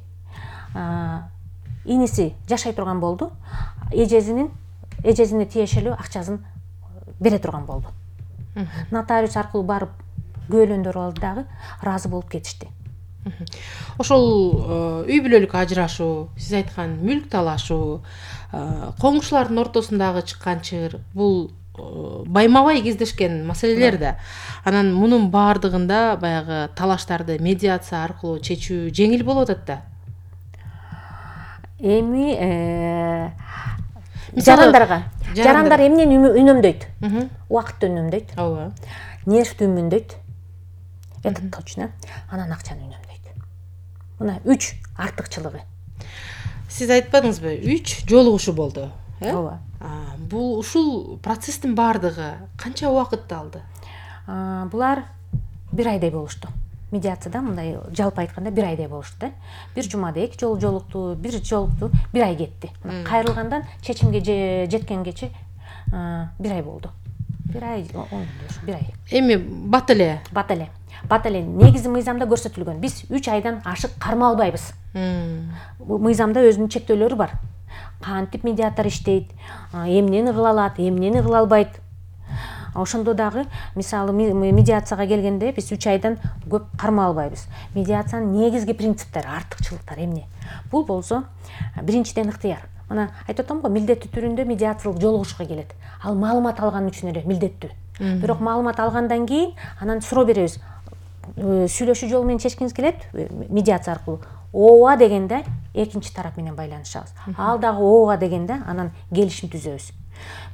Иниси жашай турган болду, эжесинин эжесине тиешелүү акчасын бере турган болду. Нотариус аркылуу барып күбөлөндөрүп алды дагы, ыраазы болуп кетишти. Ошол үй бүлөлүк ажырашуу, сиз айткан мүлк талашуу, коңшулардын ортосундагы чыккан чыгыр, бул байма-бай кездешкен маселелер да. Анан мунун баардыгында баягы талаштарды медиация аркылуу чечүү жеңил болуп атат да. Эми жарандарга, жарандар эмнени үнөмдөйт? Убакытты үнөмдөйт. Ооба. Нервди үнөмдөйт. Это точно. Анан акчаны үнөмдөйт. Мына үч артыкчылыгы. Сиз айтпадыңызбы, үч жолугушуу болду, э? Ооба. Бул ушул процесстин баардыгы канча убакытты алды? Булар бир айдай болушту. Медиацияда мындай жалпы айтканда бир айдай болушту да. Бир жумада эки жолу жолукту, бир жолукту, бир ай кетти. Кайрылгандан чечимге жеткенгече бир ай болду. Бир ай, бир ай. Эми бат эле. Бат эле. Бат эле негизи мыйзамда көрсөтүлгөн. Биз үч айдан ашык карма албайбыз. Мыйзамда өзүнүн чектөөлөрү бар. Кантип медиатор иштейт, эмнени кыла алат, эмнени кыла албайт. Ошондо дагы, мисалы, медиацияга келгенде биз үч айдан көп карма албайбыз. Медиациянын негизги принциптери, артыкчылыктары эмне? Бул болсо, биринчиден ыктыяр. Мына айтып атам го, милдеттүү түрүндө медиациялык жолугушууга келет. Ал маалымат алган үчүн эле милдеттүү. Бирок маалымат алгандан кийин анан суроо беребиз. Сүйлөшүү жолу менен чечкиңиз келет, медиация аркылуу. Ооба дегенде экинчи тарап менен байланышабыз. Ал дагы ооба дегенде анан келишим түзөбүз.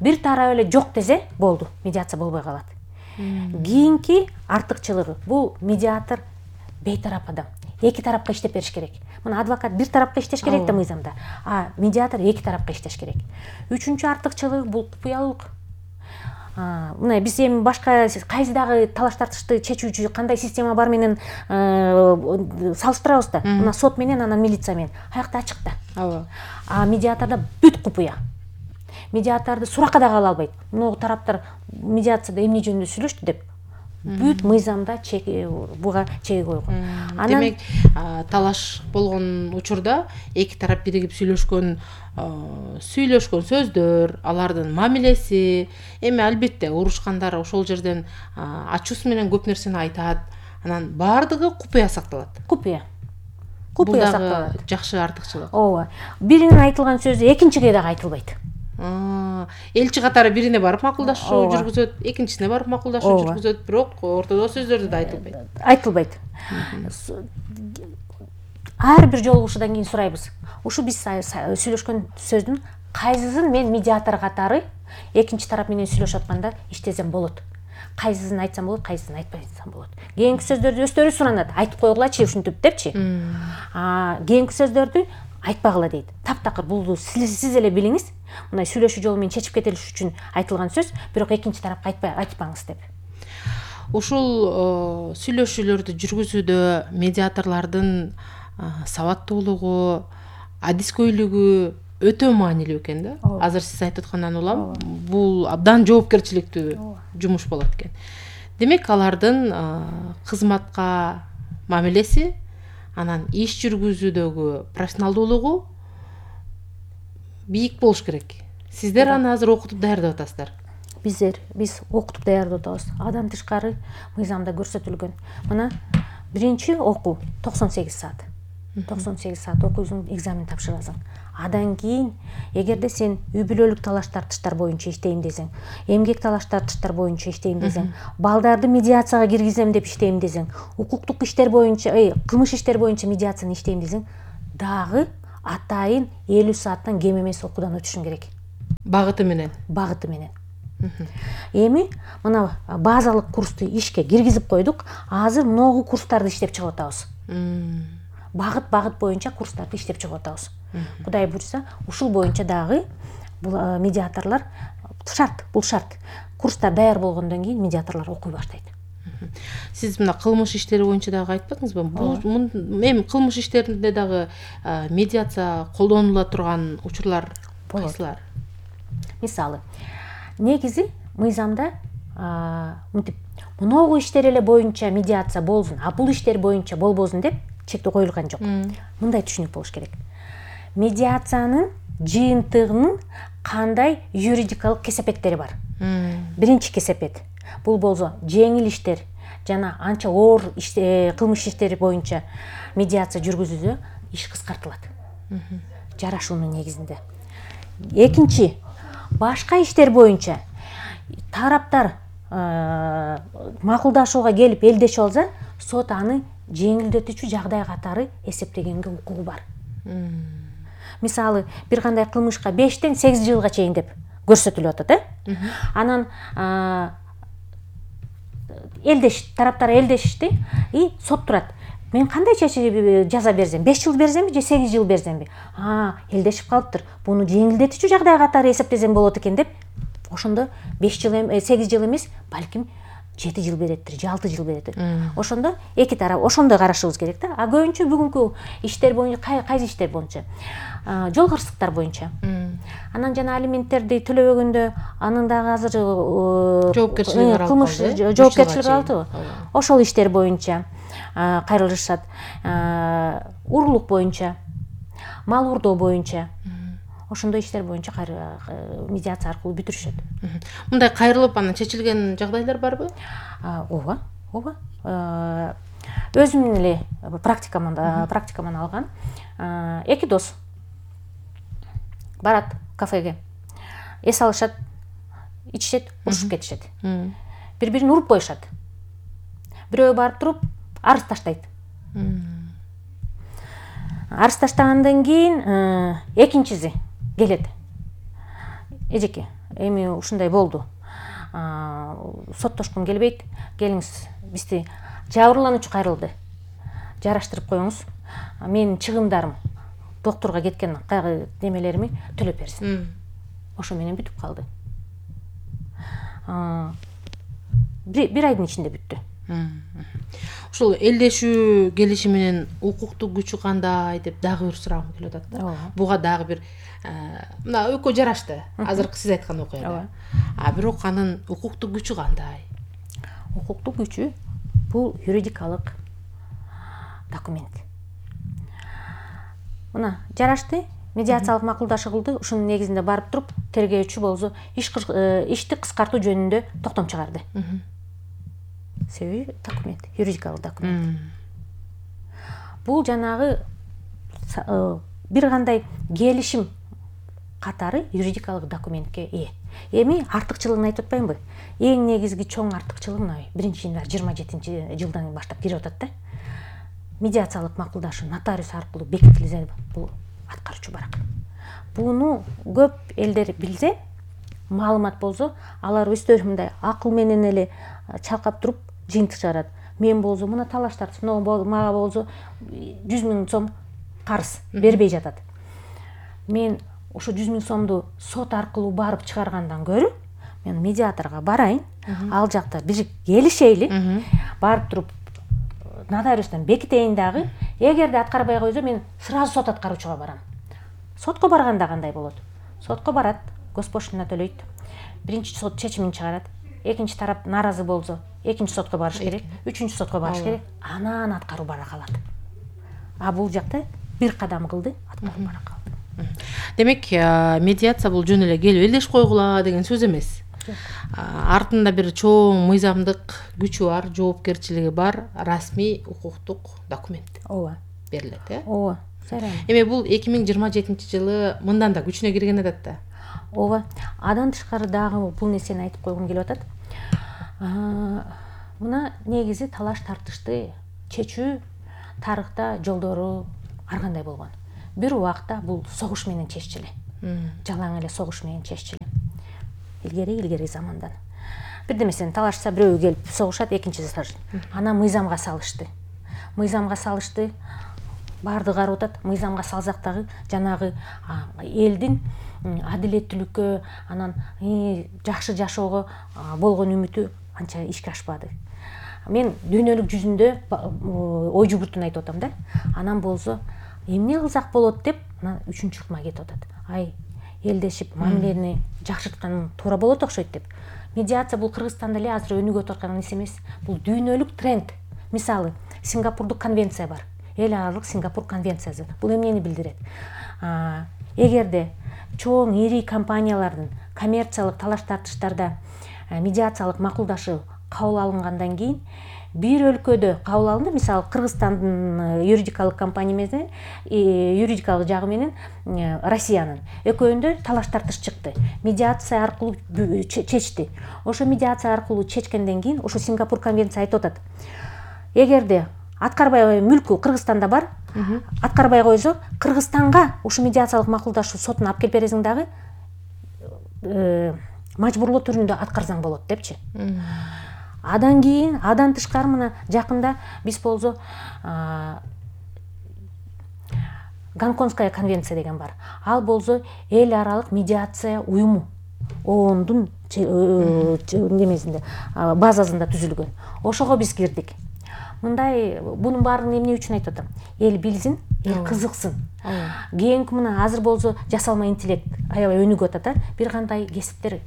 Бир тарап эле жок десе болду, медиация болбой калат. Кийинки артыкчылыгы, бул медиатор бейтарап адам. Эки тарапка иштеп бериш керек. Мына адвокат бир тарапка иштеш керек да мыйзамда, а медиатор эки тарапка иштеш керек. Үчүнчү артыкчылыгы бул купуялык. Мына биз эми башка кайсы дагы талаш тартышты чечүүчү кандай система бар менен салыштырабыз да. Мына сот менен, анан милиция менен. Аякта ачык да. Ооба. А медиаторда бүт купуя. Медиаторду суракка дагы ала албайт. Могу тараптар медиацияда эмне жөнүндө сүйлөштү деп бүт мыйзамда буга чеги койгон. Демек, талаш болгон учурда эки тарап биригип сүйлөшкөн сүйлөшкөн сөздөр, алардын мамилеси, эми албетте урушкандар ошол жерден ачуусу менен көп нерсени айтат. Анан баардыгы купуя сакталат. Купуя. Купуя сакталат. Бул дагы жакшы артыкчылык. Ооба. Биринин айтылган сөзү экинчиге дагы айтылбайт. Элчи катары бирине барып макулдашуу жүргүзөт, экинчисине барып макулдашуу жүргүзөт, бирок ортодо сөздөрдү да айтылбайт. Айтылбайт. Ар бир жолугушуудан кийин сурайбыз. Ушу биз сүйлөшкөн сөздүн кайсысын мен медиатор катары экинчи тарап менен сүйлөшүп атканда иштесем болот. Кайсысын айтсам болот, кайсысын айтпасам болот. Кийинки сөздөрдү өздөрү суранат. Айтып койгулачы ушинтип депчи. А кийинки сөздөрдү айтпагыла дейт. Таптакыр бул сиз эле билиңиз. Мындай сүйлөшүү жолу менен чечип кетилиш үчүн айтылган сөз, бирок экинчи тарапка айтпай айтпаңыз деп. Ушул сүйлөшүүлөрдү жүргүзүүдө медиаторлордун сабаттуулугу, адискөйлүгү өтө маанилүү экен да. Азыр сиз айтып аткандан улам бул абдан жоопкерчиликтүү жумуш болот экен. Демек, алардын кызматка мамилеси, анан иш жүргүзүүдөгү профессионалдуулугу бийик болуш керек. Сиздер аны азыр окутуп даярдап атасыздар. Биздер биз окутуп даярдап атабыз. Адам тышкары мыйзамда көрсөтүлгөн. Мына биринчи окуу токсон сегиз саат. токсон сегиз саат окуйсуң, экзамен тапшырасың. Адан кийин эгерде сен үй бүлөлүк талаш тартыштар боюнча иштейм десең, эмгек талаш тартыштар боюнча иштейм десең, балдарды медиацияга киргизем деп иштейм десең, укуктук иштер боюнча, кылмыш иштер боюнча медиацияны иштейм десең, дагы атайын элүү сааттан кем эмес окуудан өтүшүң керек. Багыты менен. Багыты менен. Эми мына базалык курсту ишке киргизип койдук. Азыр многу курстарды иштеп чыгып атабыз. Багыт багыт боюнча курстарды иштеп чыгып атабыз. Кудай буйрса, ушул боюнча дагы бул медиаторлор шарт, бул шарт. Курстар даяр болгондон кийин медиаторлор окуй баштайт. Сиз мына кылмыш иштери боюнча дагы айтпадыңызбы? Бул эми кылмыш иштеринде дагы медиация колдонула турган учурлар кайсылар? Мисалы, негизи мыйзамда мынтип многу иштер эле боюнча медиация болсун, а бул иштер боюнча болбосун деп чектөө коюлган жок. Мындай түшүнүк болуш керек. Медиациянын жыйынтыгынын кандай юридикалык кесепеттери бар. Биринчи кесепет бул болсо жеңил иштер жана анча оор кылмыш иштери боюнча медиация жүргүзүүдө иш кыскартылат. Жарашуунун негизинде. Экинчи, башка иштер боюнча тараптар макулдашууга келип элдешип алса, сот аны жеңилдетүүчү жагдай катары эсептегенге укугу бар. Мисалы, бир кандай кылмышка бештен сегиз жылга чейин деп көрсөтүлүп атат, э? Анан элдеш, тараптар элдешишти, и сот турат. Мен кандай жаза берсем, беш жыл берсемби же сегиз жыл берсемби? А, элдешип калыптыр. Буну жеңилдетүүчү жагдай катары эсептесем болот экен деп, ошондо беш жыл, сегиз жыл эмес, балким жети жыл береттир, же алты жыл береттир. Ошондо эки тарап ошондой карашыбыз керек да. А көбүнчө бүгүнкү иштер боюнча, кайсы иштер боюнча? Жол кырсыктар боюнча. Анан жана алименттерди төлөбөгөндө анын дагы азыр жоопкерчилиги кылмыш жоопкерчилиги алды. Ошол иштер боюнча кайрылышат. Урлук боюнча, мал уурдоо боюнча. Ошондой иштер боюнча медиация аркылуу бүтүрүшөт. Мындай кайрылып анан чечилген жагдайлар барбы? Ооба, ооба. Өзүмдүн эле практикаман практикаман алган эки дос барат кафеге. Эс алышат, ичишет, урушуп кетишет. Бири-бирин уруп коюшат. Бирөө барып туруп арыз таштайт. Арыз таштагандан кийин экинчиси келет. Эжеке, эми ушундай болду. Соттошкум келбейт. Келиңиз, бизди жабырлануучу кайрылды. Жараштырып коюңуз. Менин чыгымдарым, доктурга кеткен немелерими төлөп берсин. Ошо менен бүтүп калды. Бир айдын ичинде бүттү. Ушул элдешүү келиши менен укуктук күчү кандай деп дагы бир сурагым келип атат да. Буга дагы бир мына экөө жарашты. Азыркы сиз айткан окуяда. А бирок анын укуктук күчү кандай? Укуктук күчү бул юридикалык документ. Мына жарашты, медиациялык макулдашы кылды. Ушунун негизинде барып туруп, тергөөчү болсо ишти кыскартуу жөнүндө токтом чыгарды. Себеби документ, юридикалык документ. Бул жанагы бир кандай келишим катары юридикалык документке ээ. Эми артыкчылыгын айтып атпаймынбы? Эң негизги чоң артыкчылыгы мына биринчи январь жыйырма жетинчи жылдан баштап кирип атат да. Медиациялык макулдашуу нотариус аркылуу бекитилсе, бул аткаруучу барак. Буну көп элдер билсе, маалымат болсо, алар өздөрү мындай акыл менен эле чалкап туруп жыйынтык чыгарат. Мен болсо мына талаш тартып, мага болсо жүз миң сом карыз бербей жатат. Мен ошо жүз миң сомду сот аркылуу барып чыгаргандан көрө, мен медиаторго барайын, ал жакта бир келишейли, барып туруп нотариустан бекитейин дагы. Эгерде аткарбай койсо, мен сразу сот аткаруучуга барам. Сотко барганда кандай болот? Сотко барат, госпошлина төлөйт. Биринчи сот чечимин чыгарат. Экинчи тарап нааразы болсо, экинчи сотко барыш керек, үчүнчү сотко барыш керек. Анан аткаруу бара калат. А бул жакта бир кадам кылды, аткаруу бара калды. Демек, медиация бул жөн эле келип элдешип койгула деген сөз эмес. Артында бир чоң мыйзамдык күчү бар, жоопкерчилиги бар, расмий укуктук документ. Ооба. Берилет, э? Ооба. Эми бул эки миң жыйырма жетинчи жылы мындан да күчүнө кирген атат да. Ооба. Адан тышкары дагы бул нерсени айтып койгум келип атат. Мына негизи талаш тартышты чечүү тарыхта жолдору ар кандай болгон. Бир убакта бул согуш менен чеччү эле. Жалаң эле согуш менен чеччү эле. Илгери илгери замандан. Бирдемесени талашса бирөө келип согушат, экинчиси талашат. Анан мыйзамга салышты. Мыйзамга салышты. Баарды карап атат. Мыйзамга салсак дагы жанагы элдин адилеттүүлүккө, анан жакшы жашоого болгон үмүтү анча ишке ашпады. Мен дүйнөлүк жүзүндө ой жүгүртүүнү айтып атам да. Анан болсо эмне кылсак болот деп анан үчүнчү ыкма кетип атат. Ай, элдешип мамилени жакшырткан туура болот окшойт деп. Медиация бул Кыргызстанда эле азыр өнүгүп аткан нерсе эмес. Бул дүйнөлүк тренд. Мисалы, Сингапурдук конвенция бар. Эл аралык Сингапур конвенциясы. Бул эмнени билдирет? Эгерде чоң ири компаниялардын коммерциялык талаш тартыштарда медиациялык макулдашуу кабыл алынгандан кийин бир өлкөдө кабыл алынды, мисалы Кыргызстандын юридикалык компания менен юридикалык жагы менен Россиянын экөөндө талаш тартыш чыкты. Медиация аркылуу чечти. Ошо медиация аркылуу чечкенден кийин ошо Сингапур конвенция айтып атат. Эгерде аткарбай мүлкү Кыргызстанда бар, аткарбай койсо Кыргызстанга ушу медиациялык макулдашуу сотуна алып келип бересиң дагы мажбурлоо түрүндө аткарсаң болот депчи. Адан кийин, адан тышкары мына жакында биз болсо Гонконгская конвенция деген бар. Ал болсо эл аралык медиация уюму оондун немесинде базасында түзүлгөн. Ошого биз кирдик. Мындай бунун баарын эмне үчүн айтып атам? Эл билсин, эл кызыксын. Кийинки мына азыр болсо жасалма интеллект аябай өнүгүп атат, бир кандай кесиптер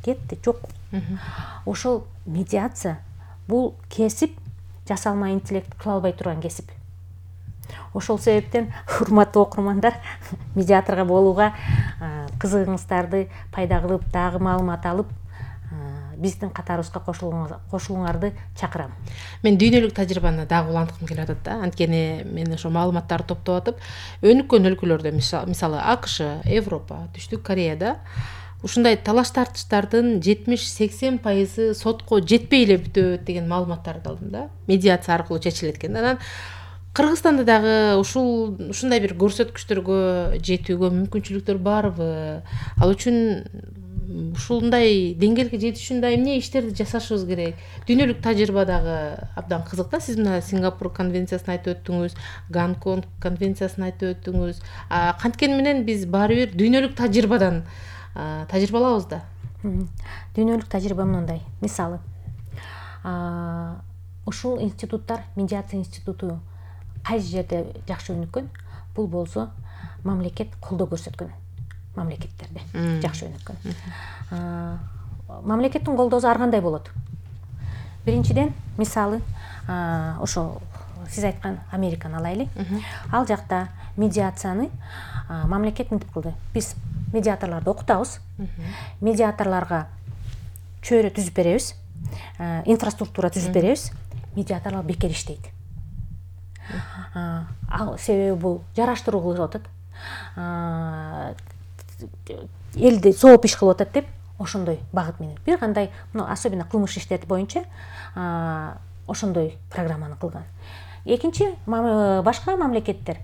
кетти, жок. Ошол медиация бул кесип жасалма интеллект кыла албай турган кесип. Ошол себептен урматтуу окурмандар, медиаторго болууга кызыгыңыздарды пайда кылып, дагы маалымат алып, биздин катарыбызга кошулууңарды чакырам. Мен дүйнөлүк тажрыйбаны дагы уланткым келип атат да. Анткени мен ошо маалыматтарды топтоп атып, өнүккөн өлкөлөрдө, мисалы АКШ, Европа, Түштүк Кореяда ушундай талаш тартыштардын жетимиш сексен пайызы сотко жетпей эле бүтөт деген маалыматтарды алдым да. Медиация аркылуу чечилет экен. Анан Кыргызстанда дагы ушул ушундай бир көрсөткүчтөргө жетүүгө мүмкүнчүлүктөр барбы? Ал үчүн ушундай деңгээлге жетиш үчүн да эмне иштерди жасашыбыз керек? Дүйнөлүк тажрыйба дагы абдан кызык да. Сиз мына Сингапур конвенциясын айтып өттүңүз, Гонконг конвенциясын айтып өттүңүз. Канткени менен биз баары бир дүйнөлүк тажрыйбадан тажрыйба алабыз да. Дүйнөлүк тажрыйба мындай. Мисалы, ушул институттар, медиация институту кайсы жерде жакшы өнүккөн? Бул болсо мамлекет колдоо көрсөткөн мамлекеттерде жакшы өнүккөн. Мамлекеттин колдоосу ар кандай болот? Биринчиден, мисалы, ошо сиз айткан Американы алайлы. Ал жакта медиацияны мамлекет мынтип кылды. Биз медиаторлорду окутабыз. Медиаторлорго чөйрө түзүп беребиз, инфраструктура түзүп беребиз. Медиаторлор бекер иштейт. Ал себеби бул жараштыруу кылып атат. Элди сооп иш кылып атат деп ошондой багыт менен. Бир кандай, особенно кылмыш иштери боюнча ошондой программаны кылган. Экинчи, башка мамлекеттер,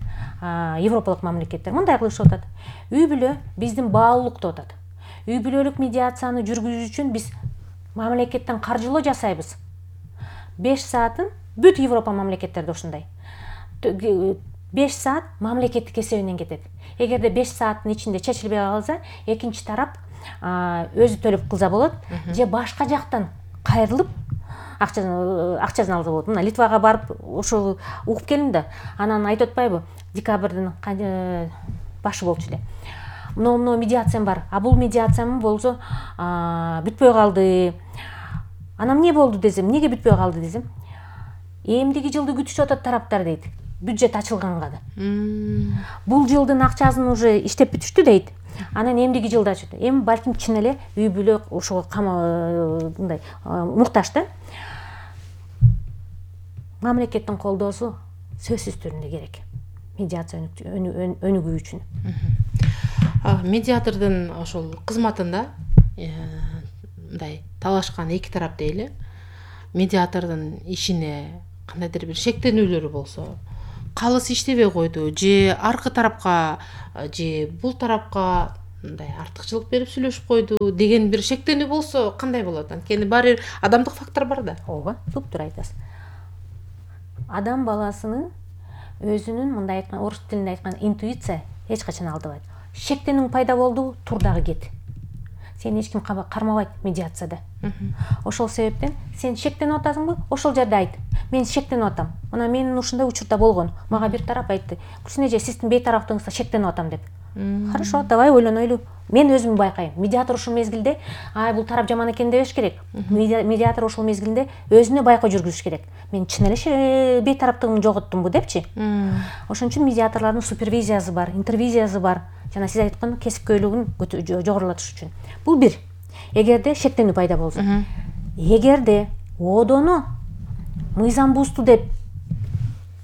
европалык мамлекеттер мындай кылышып атат. Үй бүлө биздин баалуулук деп атат. Үй бүлөлүк медиацияны жүргүзүү үчүн биз мамлекеттен каржылоо жасайбыз. беш саатын бүт Европа мамлекеттерде ушундай. беш саат мамлекеттик эсебинен кетет. Эгерде беш сааттын ичинде чечилбей калса, экинчи тарап өзү төлөп кылса болот, же башка жактан кайрылып акчасын акчасын алса болот. Мына Литвага барып ошол угуп келдим да. Анан айтып атпайбы, декабрдын башы болчу эле. Мына медиациям бар. А бул медиациям болсо бүтпөй калды. Анан эмне болду десем, эмнеге бүтпөй калды десем, эмдиги жылды күтүшүп атат тараптар дейт. Бюджет ачылганга да. Бул жылдын акчасын уже иштеп бүтүштү дейт. Анан эмдиги жылда ачылды. Эми балким чын эле үй бүлө ошого мындай муктаж да. Мамлекеттин колдоосу сөзсүз түрүндө керек. медиация өнүгүү үчүн. Медиатордун ошол кызматында мындай талашкан эки тарап дейли, медиатордун ишине кандайдыр бир шектенүүлөрү болсо, калыс иштебей койду же аркы тарапка же бул тарапка мындай артыкчылык берип сүйлөшүп койду деген бир шектенүү болсо кандай болот? Анткени баары адамдык фактор бар да. Ооба, туптуура айтасыз. Адам баласынын өзүнүн мындай айткан, орус тилинде айткан интуиция эч качан алдабайт. Шектенүү пайда болду, тур дагы кет. Сени эч ким кармабайт медиацияда. Ошол себептен сен шектенип атасыңбы? Ошол жерде айт. Мен шектенип атам. Мына менин ушундай учурда болгон. Мага бир тарап айтты. Күрсүн эже, сиздин бейтараптыгыңызда шектенип атам деп. Хорошо, давай ойлонойлу. Мен өзүм байкайм. Медиатор ушул мезгилде, ай бул тарап жаман экен дебеш керек. Медиатор ушул мезгилде өзүнө байкоо жүргүзүш керек. Мен чын эле бейтараптыгымды жоготтумбу депчи. Ошон үчүн медиаторлордун супервизиясы бар, интервизиясы бар. Жана сиз айткан кесипкөйлүгүн жогорулатыш үчүн. Бул бир. Эгерде шектенүү пайда болсо. Эгерде одоно мыйзам бузду деп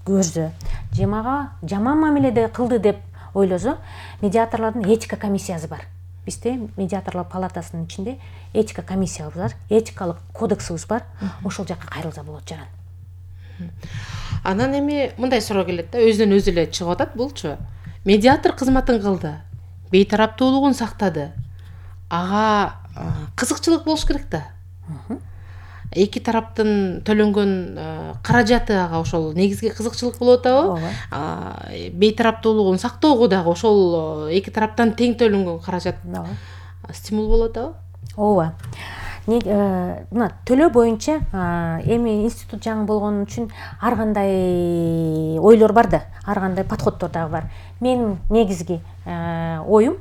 көрсө, же мага жаман мамиледе кылды деп ойлосо, медиаторлордун этика комиссиясы бар. Бизде медиаторлор палатасынын ичинде этика комиссиябыз бар, этикалык кодексибиз бар. Ошол жакка кайрылса болот жаран. Анан эми мындай суроо келет да, өзүнөн өзү эле чыгып атат булчу. Медиатор кызматын кылды, бейтараптуулугун сактады. Ага кызыкчылык болуш керек да. Эки тараптын төлөнгөн каражаты ага ошол негизги кызыкчылык болуп атабы? Бейтараптуулугун сактоого дагы ошол эки тараптан тең төлөнгөн каражат стимул болуп атабы? Ооба. Мына төлөө боюнча эми институт жаңы болгон үчүн ар кандай ойлор бар да, ар кандай подходдор дагы бар. Менин негизги оюм,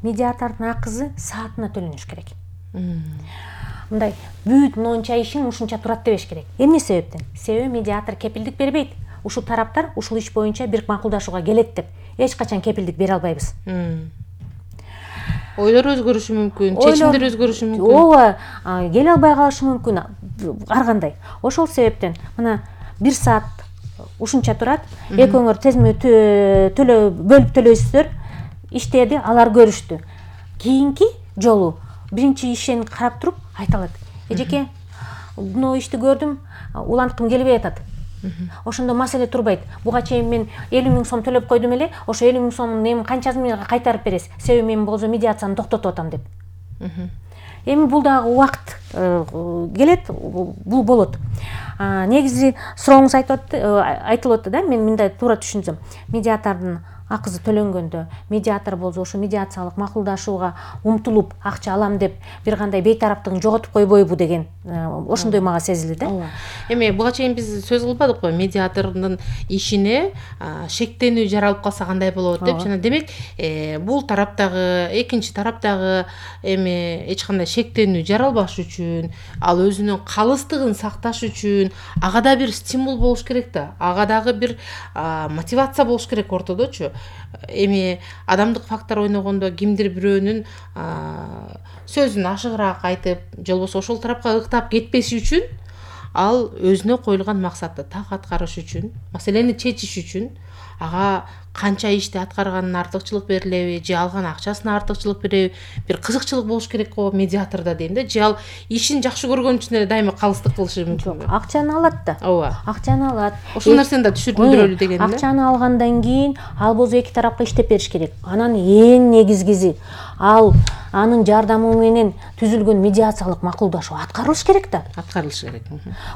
медиатордун акысы саатына төлөнүш керек. Мындай бүт монча ишиң ушунча турат дебеш керек. Эмне себептен? Себеби медиатор кепилдик бербейт. Ушул тараптар ушул иш боюнча бир макулдашууга келет деп эч качан кепилдик бере албайбыз. Ойлор өзгөрүшү мүмкүн, чечимдер өзгөрүшү мүмкүн. Ооба, келе албай калышы мүмкүн ар кандай. Ошол себептен мына бир саат ушунча турат, экөөңөр тезме төлөө бөлүп төлөйсүздөр, иштеди, алар көрүштү. Кийинки жолу биринчи ишин карап туруп айта алат. Эжеке, мына ишти көрдүм, уланткым келбей атат. Ошондо маселе турбайт. Буга чейин мен элүү миң сом төлөп койдум эле, ошо элүү миң сомдун эми канчасын мага кайтарып бересиз? Себеби мен болсо медиацияны токтотуп атам деп. Эми бул дагы убакыт келет, бул болот. Негизи сурооңуз айтылып атты да, мен мындай туура түшүнсөм. Медиатордун акысы төлөнгөндө медиатор болсо ошо медиациялык макулдашууга умтулуп акча алам деп бир кандай бейтараптыгын жоготуп койбойбу деген ошондой мага сезилди да. Эми буга чейин биз сөз кылбадыкпы, медиатордун ишине шектенүү жаралып калса кандай болот деп. Жана демек бул тараптагы, экинчи тараптагы эми эч кандай шектенүү жаралбаш үчүн, ал өзүнүн калыстыгын сакташ үчүн ага да бир стимул болуш керек да. Ага дагы бир мотивация болуш керек ортодочу. Эми адамдык фактор ойногондо кимдир бирөөнүн сөзүн ашыгыраак айтып, же болбосо ошол тарапка ыктап кетпеси үчүн, ал өзүнө коюлган максатты так аткарыш үчүн, маселени чечиш үчүн ага канча ишти аткарганына артыкчылык берилеби, же алган акчасына артыкчылык береби, бир кызыкчылык болуш керек го медиатордо дейм да. Же ал ишин жакшы көргөн үчүн эле дайыма калыстык кылышы мүмкүнбү? Акчаны алат да. Ооба. Акчаны алат. Ошол нерсени да түшүндүрөлү деген да. Акчаны алгандан кийин ал болсо эки тарапка иштеп бериш керек. Анан эң негизгиси ал анын жардамы менен түзүлгөн медиациялык макулдашуу аткарылыш керек да. Аткарылышы керек.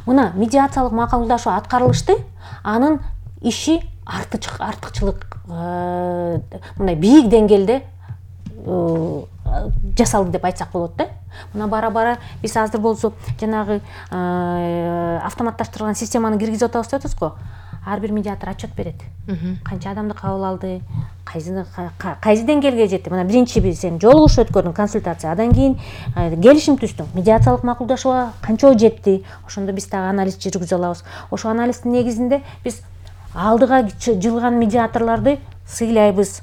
Мына медиациялык макулдашуу аткарылышты, анын иши артыкчылык мындай бийик деңгээлде жасалды деп айтсак болот да. Мына бара-бара биз азыр болсо жанагы автоматташтырылган системаны киргизип атабыз деп атабыз го. Ар бир медиатор отчет берет. Канча адамды кабыл алды, кайсы деңгээлге жетти. Мына биринчи бир сен жолугуш өткөрдүң, консультация, андан кийин келишим түздүң, медиациялык макулдашууга канча жетти. Ошондо биз дагы анализ жүргүзө алабыз. Ошол анализдин негизинде биз алдыга жылган медиаторлорду сыйлайбыз.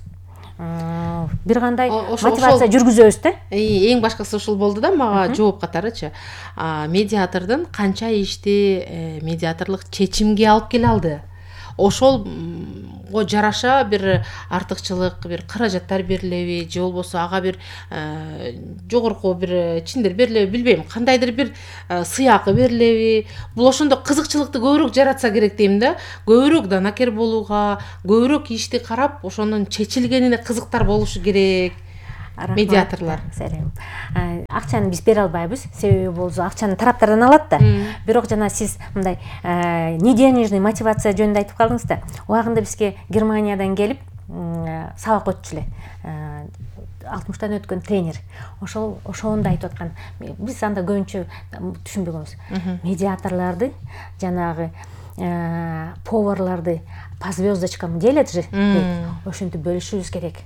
Бир кандай мотивация жүргүзөбүз да. Эң башкысы ушул болду да мага жооп катарычы. Медиатордун канча ишти медиаторлук чечимге алып келе алды. ошолго жараша бир артыкчылык, бир каражаттар берилеби же болбосо ага бир жогорку бир чиндер берилеби билбейм, кандайдыр бир сыйакы берилеби, бул ошондо кызыкчылыкты көбүрөөк жаратса керек дейм да. Көбүрөөк данакер болууга, көбүрөөк ишти карап ошонун чечилгенине кызыктар болушу керек. Медиаторлор. Акчаны биз бере албайбыз, себеби болсо акчаны тараптардан алат да. Бирок жана сиз мындай неденежный мотивация жөнүндө айтып калдыңыз да. Убагында бизге Германиядан келип сабак өтчү эле. алтымыштан өткөн тренер. Ошол ошондо айтып аткан. Биз анда көбүнчө түшүнбөгөнбүз. Медиаторлорду жанагы поварларды по звездочкам делят же. Ошентип бөлүшүбүз керек.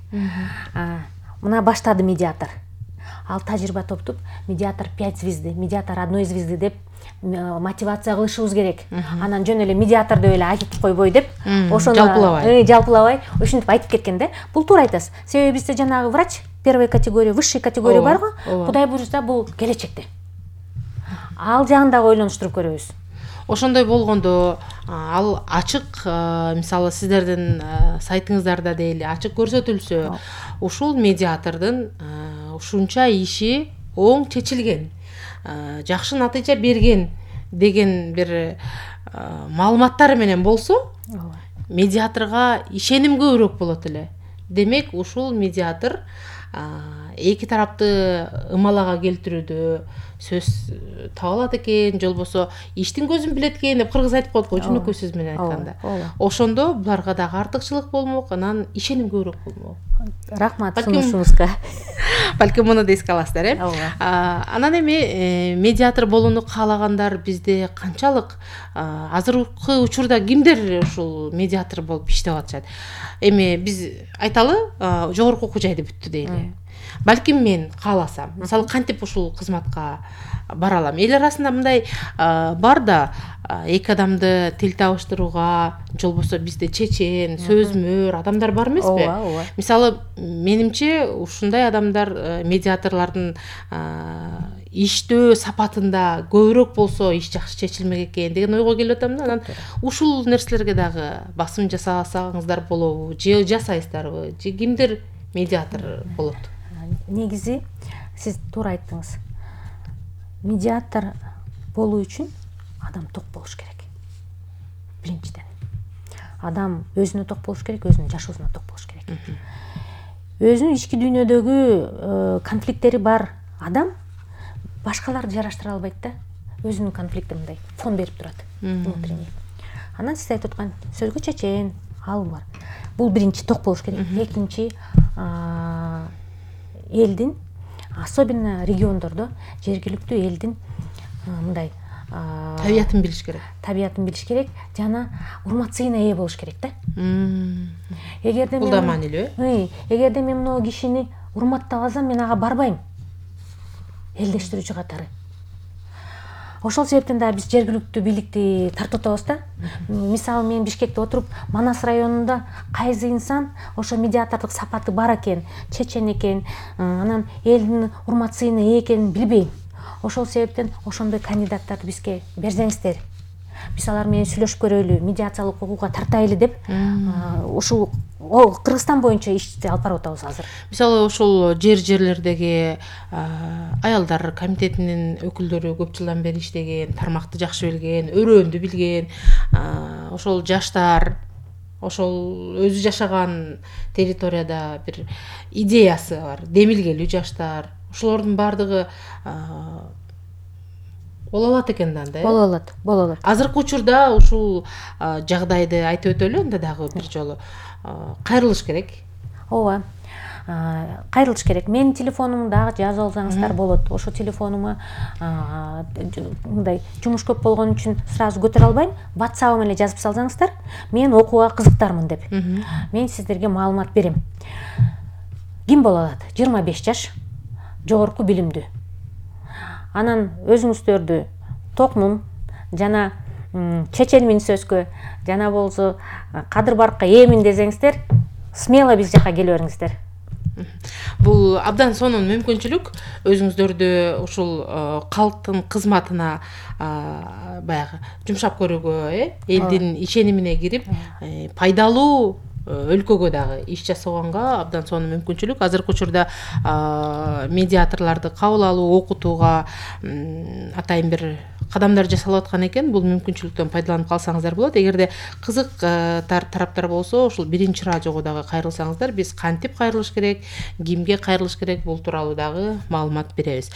Мына баштады медиатор. Ал тажрыйба топтуп, медиатор пять звезды, медиатор одной звезды деп мотивация кылышыбыз керек. Анан жөн эле медиатор деп эле айтып койбой деп, ошону жалпылабай, жалпылабай ошентип айтып кеткен да. Бул туура айтасыз. Себеби бизде жанагы врач первой категория, высший категория бар го. Кудай буйрса бул келечекте. Ал жагын дагы ойлонуштуруп көрөбүз. Ошондой болгондо ал ачык, мисалы сиздердин сайтыңыздарда дейли ачык көрсөтүлсө, ушул медиатордун ушунча иши оң чечилген, жакшы натыйжа берген деген бир маалыматтар менен болсо, медиаторго ишеним көбүрөөк болот эле. Демек, ушул медиатор эки тарапты ымалага келтирүүдө сөз таба алат экен, же болбосо иштин көзүн билет экен деп кыргыз айтып коет го, жөнөкөй сөз менен айтканда. Ошондо буларга дагы артыкчылык болмок, анан ишеним көбүрөөк болмок. Рахмат сунушуңузга. Балким муну да эске аласыздар, э? Анан эми медиатор болууну каалагандар бизде канчалык? Азыркы учурда кимдер ушул медиатор болуп иштеп атышат? Эми биз айталы, жогорку окуу жайды бүттү дейли. Балким мен кааласам, мисалы кантип ушул кызматка бара алам? Эл арасында мындай бар да, эки адамды тил табыштырууга, же болбосо бизде чечен, сөзмөр адамдар бар эмеспи? Мисалы, менимче ушундай адамдар, медиаторлордун иштөө сапатында көбүрөөк болсо иш жакшы чечилмек экен деген ойго келип атам да. Анан ушул нерселерге дагы басым жасасаңыздар болобу, же жасайсыздарбы, же кимдер медиатор болот? Негизи сиз туура айттыңыз. Медиатор болуу үчүн адам ток болуш керек. Биринчиден. Адам өзүнө ток болуш керек, өзүнүн жашоосуна ток болуш керек. Өзүнүн ички дүйнөдөгү конфликттери бар адам башкаларды жараштыра албайт да. Өзүнүн конфликти мындай фон берип турат. Внутренний. Анан сиз айтып аткан сөзгө чечен, ал бар. Бул биринчи ток болуш керек. Экинчи, элдин, особенно региондордо, жергиликтүү элдин мындай табиятын билиш керек. Табиятын билиш керек, жана урмат-сыйына ээ болуш керек да. Эгерде мен бул да маанилүү, э? Эгерде мен мына кишини урматтабасам, мен ага барбайм. Элдештирүүчү катары. Ошол себептен да биз жергиликтүү бийликти тартып атабыз да. Мисалы, мен Бишкекте отуруп, Манас районунда кайсы инсан ошо медиатордук сапаты бар экен, чечен экен, анан элдин урмат-сыйына ээ экенин билбейм. Ошол себептен ошондой кандидаттарды бизге берсеңиздер. Биз алар менен сүйлөшүп көрөлү, медиациялык окууга тартайлы деп, ушул Кыргызстан боюнча ишти алып барып атабыз азыр. Мисалы, ошол жер-жерлердеги аялдар комитетинин өкүлдөрү көп жылдан бери иштеген, тармакты жакшы билген, өрөөндү билген, ошол жаштар, ошол өзү жашаган территорияда бир идеясы бар, демилгелүү жаштар, ошолордун баардыгы боло алат экен да, анда. Боло алат, боло алат. Азыркы учурда ушул жагдайды айтып өтөлү, анда дагы бир жолу кайрылыш керек. Ооба. Кайрылыш керек. Менин телефонумду дагы жазып алсаңыздар болот. Ошо телефонума мындай жумуш көп болгон үчүн сразу көтөрө албайм. WhatsApp менен жазып салсаңыздар, мен окууга кызыктармын деп. Мен сиздерге маалымат берем. Ким боло алат? жыйырма беш жаш, жогорку билимдүү. Анан өзүңүздөрдү токмун жана чеченмин сөзгө, жана болсо кадыр баркка ээмин десеңиздер, смело биз жака келе бериңиздер. Бул абдан сонун мүмкүнчүлүк өзүңүздөрдү ушул калктын кызматына баягы жумшап көрүүгө, э элдин ишенимине кирип пайдалуу өлкөгө дагы иш жасаганга абдан сонун мүмкүнчүлүк. Азыркы учурда медиаторлорду кабыл алуу, окутууга атайын бир кадамдар жасалып аткан экен. Бул мүмкүнчүлүктөн пайдаланып калсаңыздар болот. Эгерде кызык тараптар болсо, ушул биринчи радиого дагы кайрылсаңыздар, биз кантип кайрылыш керек, кимге кайрылыш керек, бул тууралуу дагы маалымат беребиз.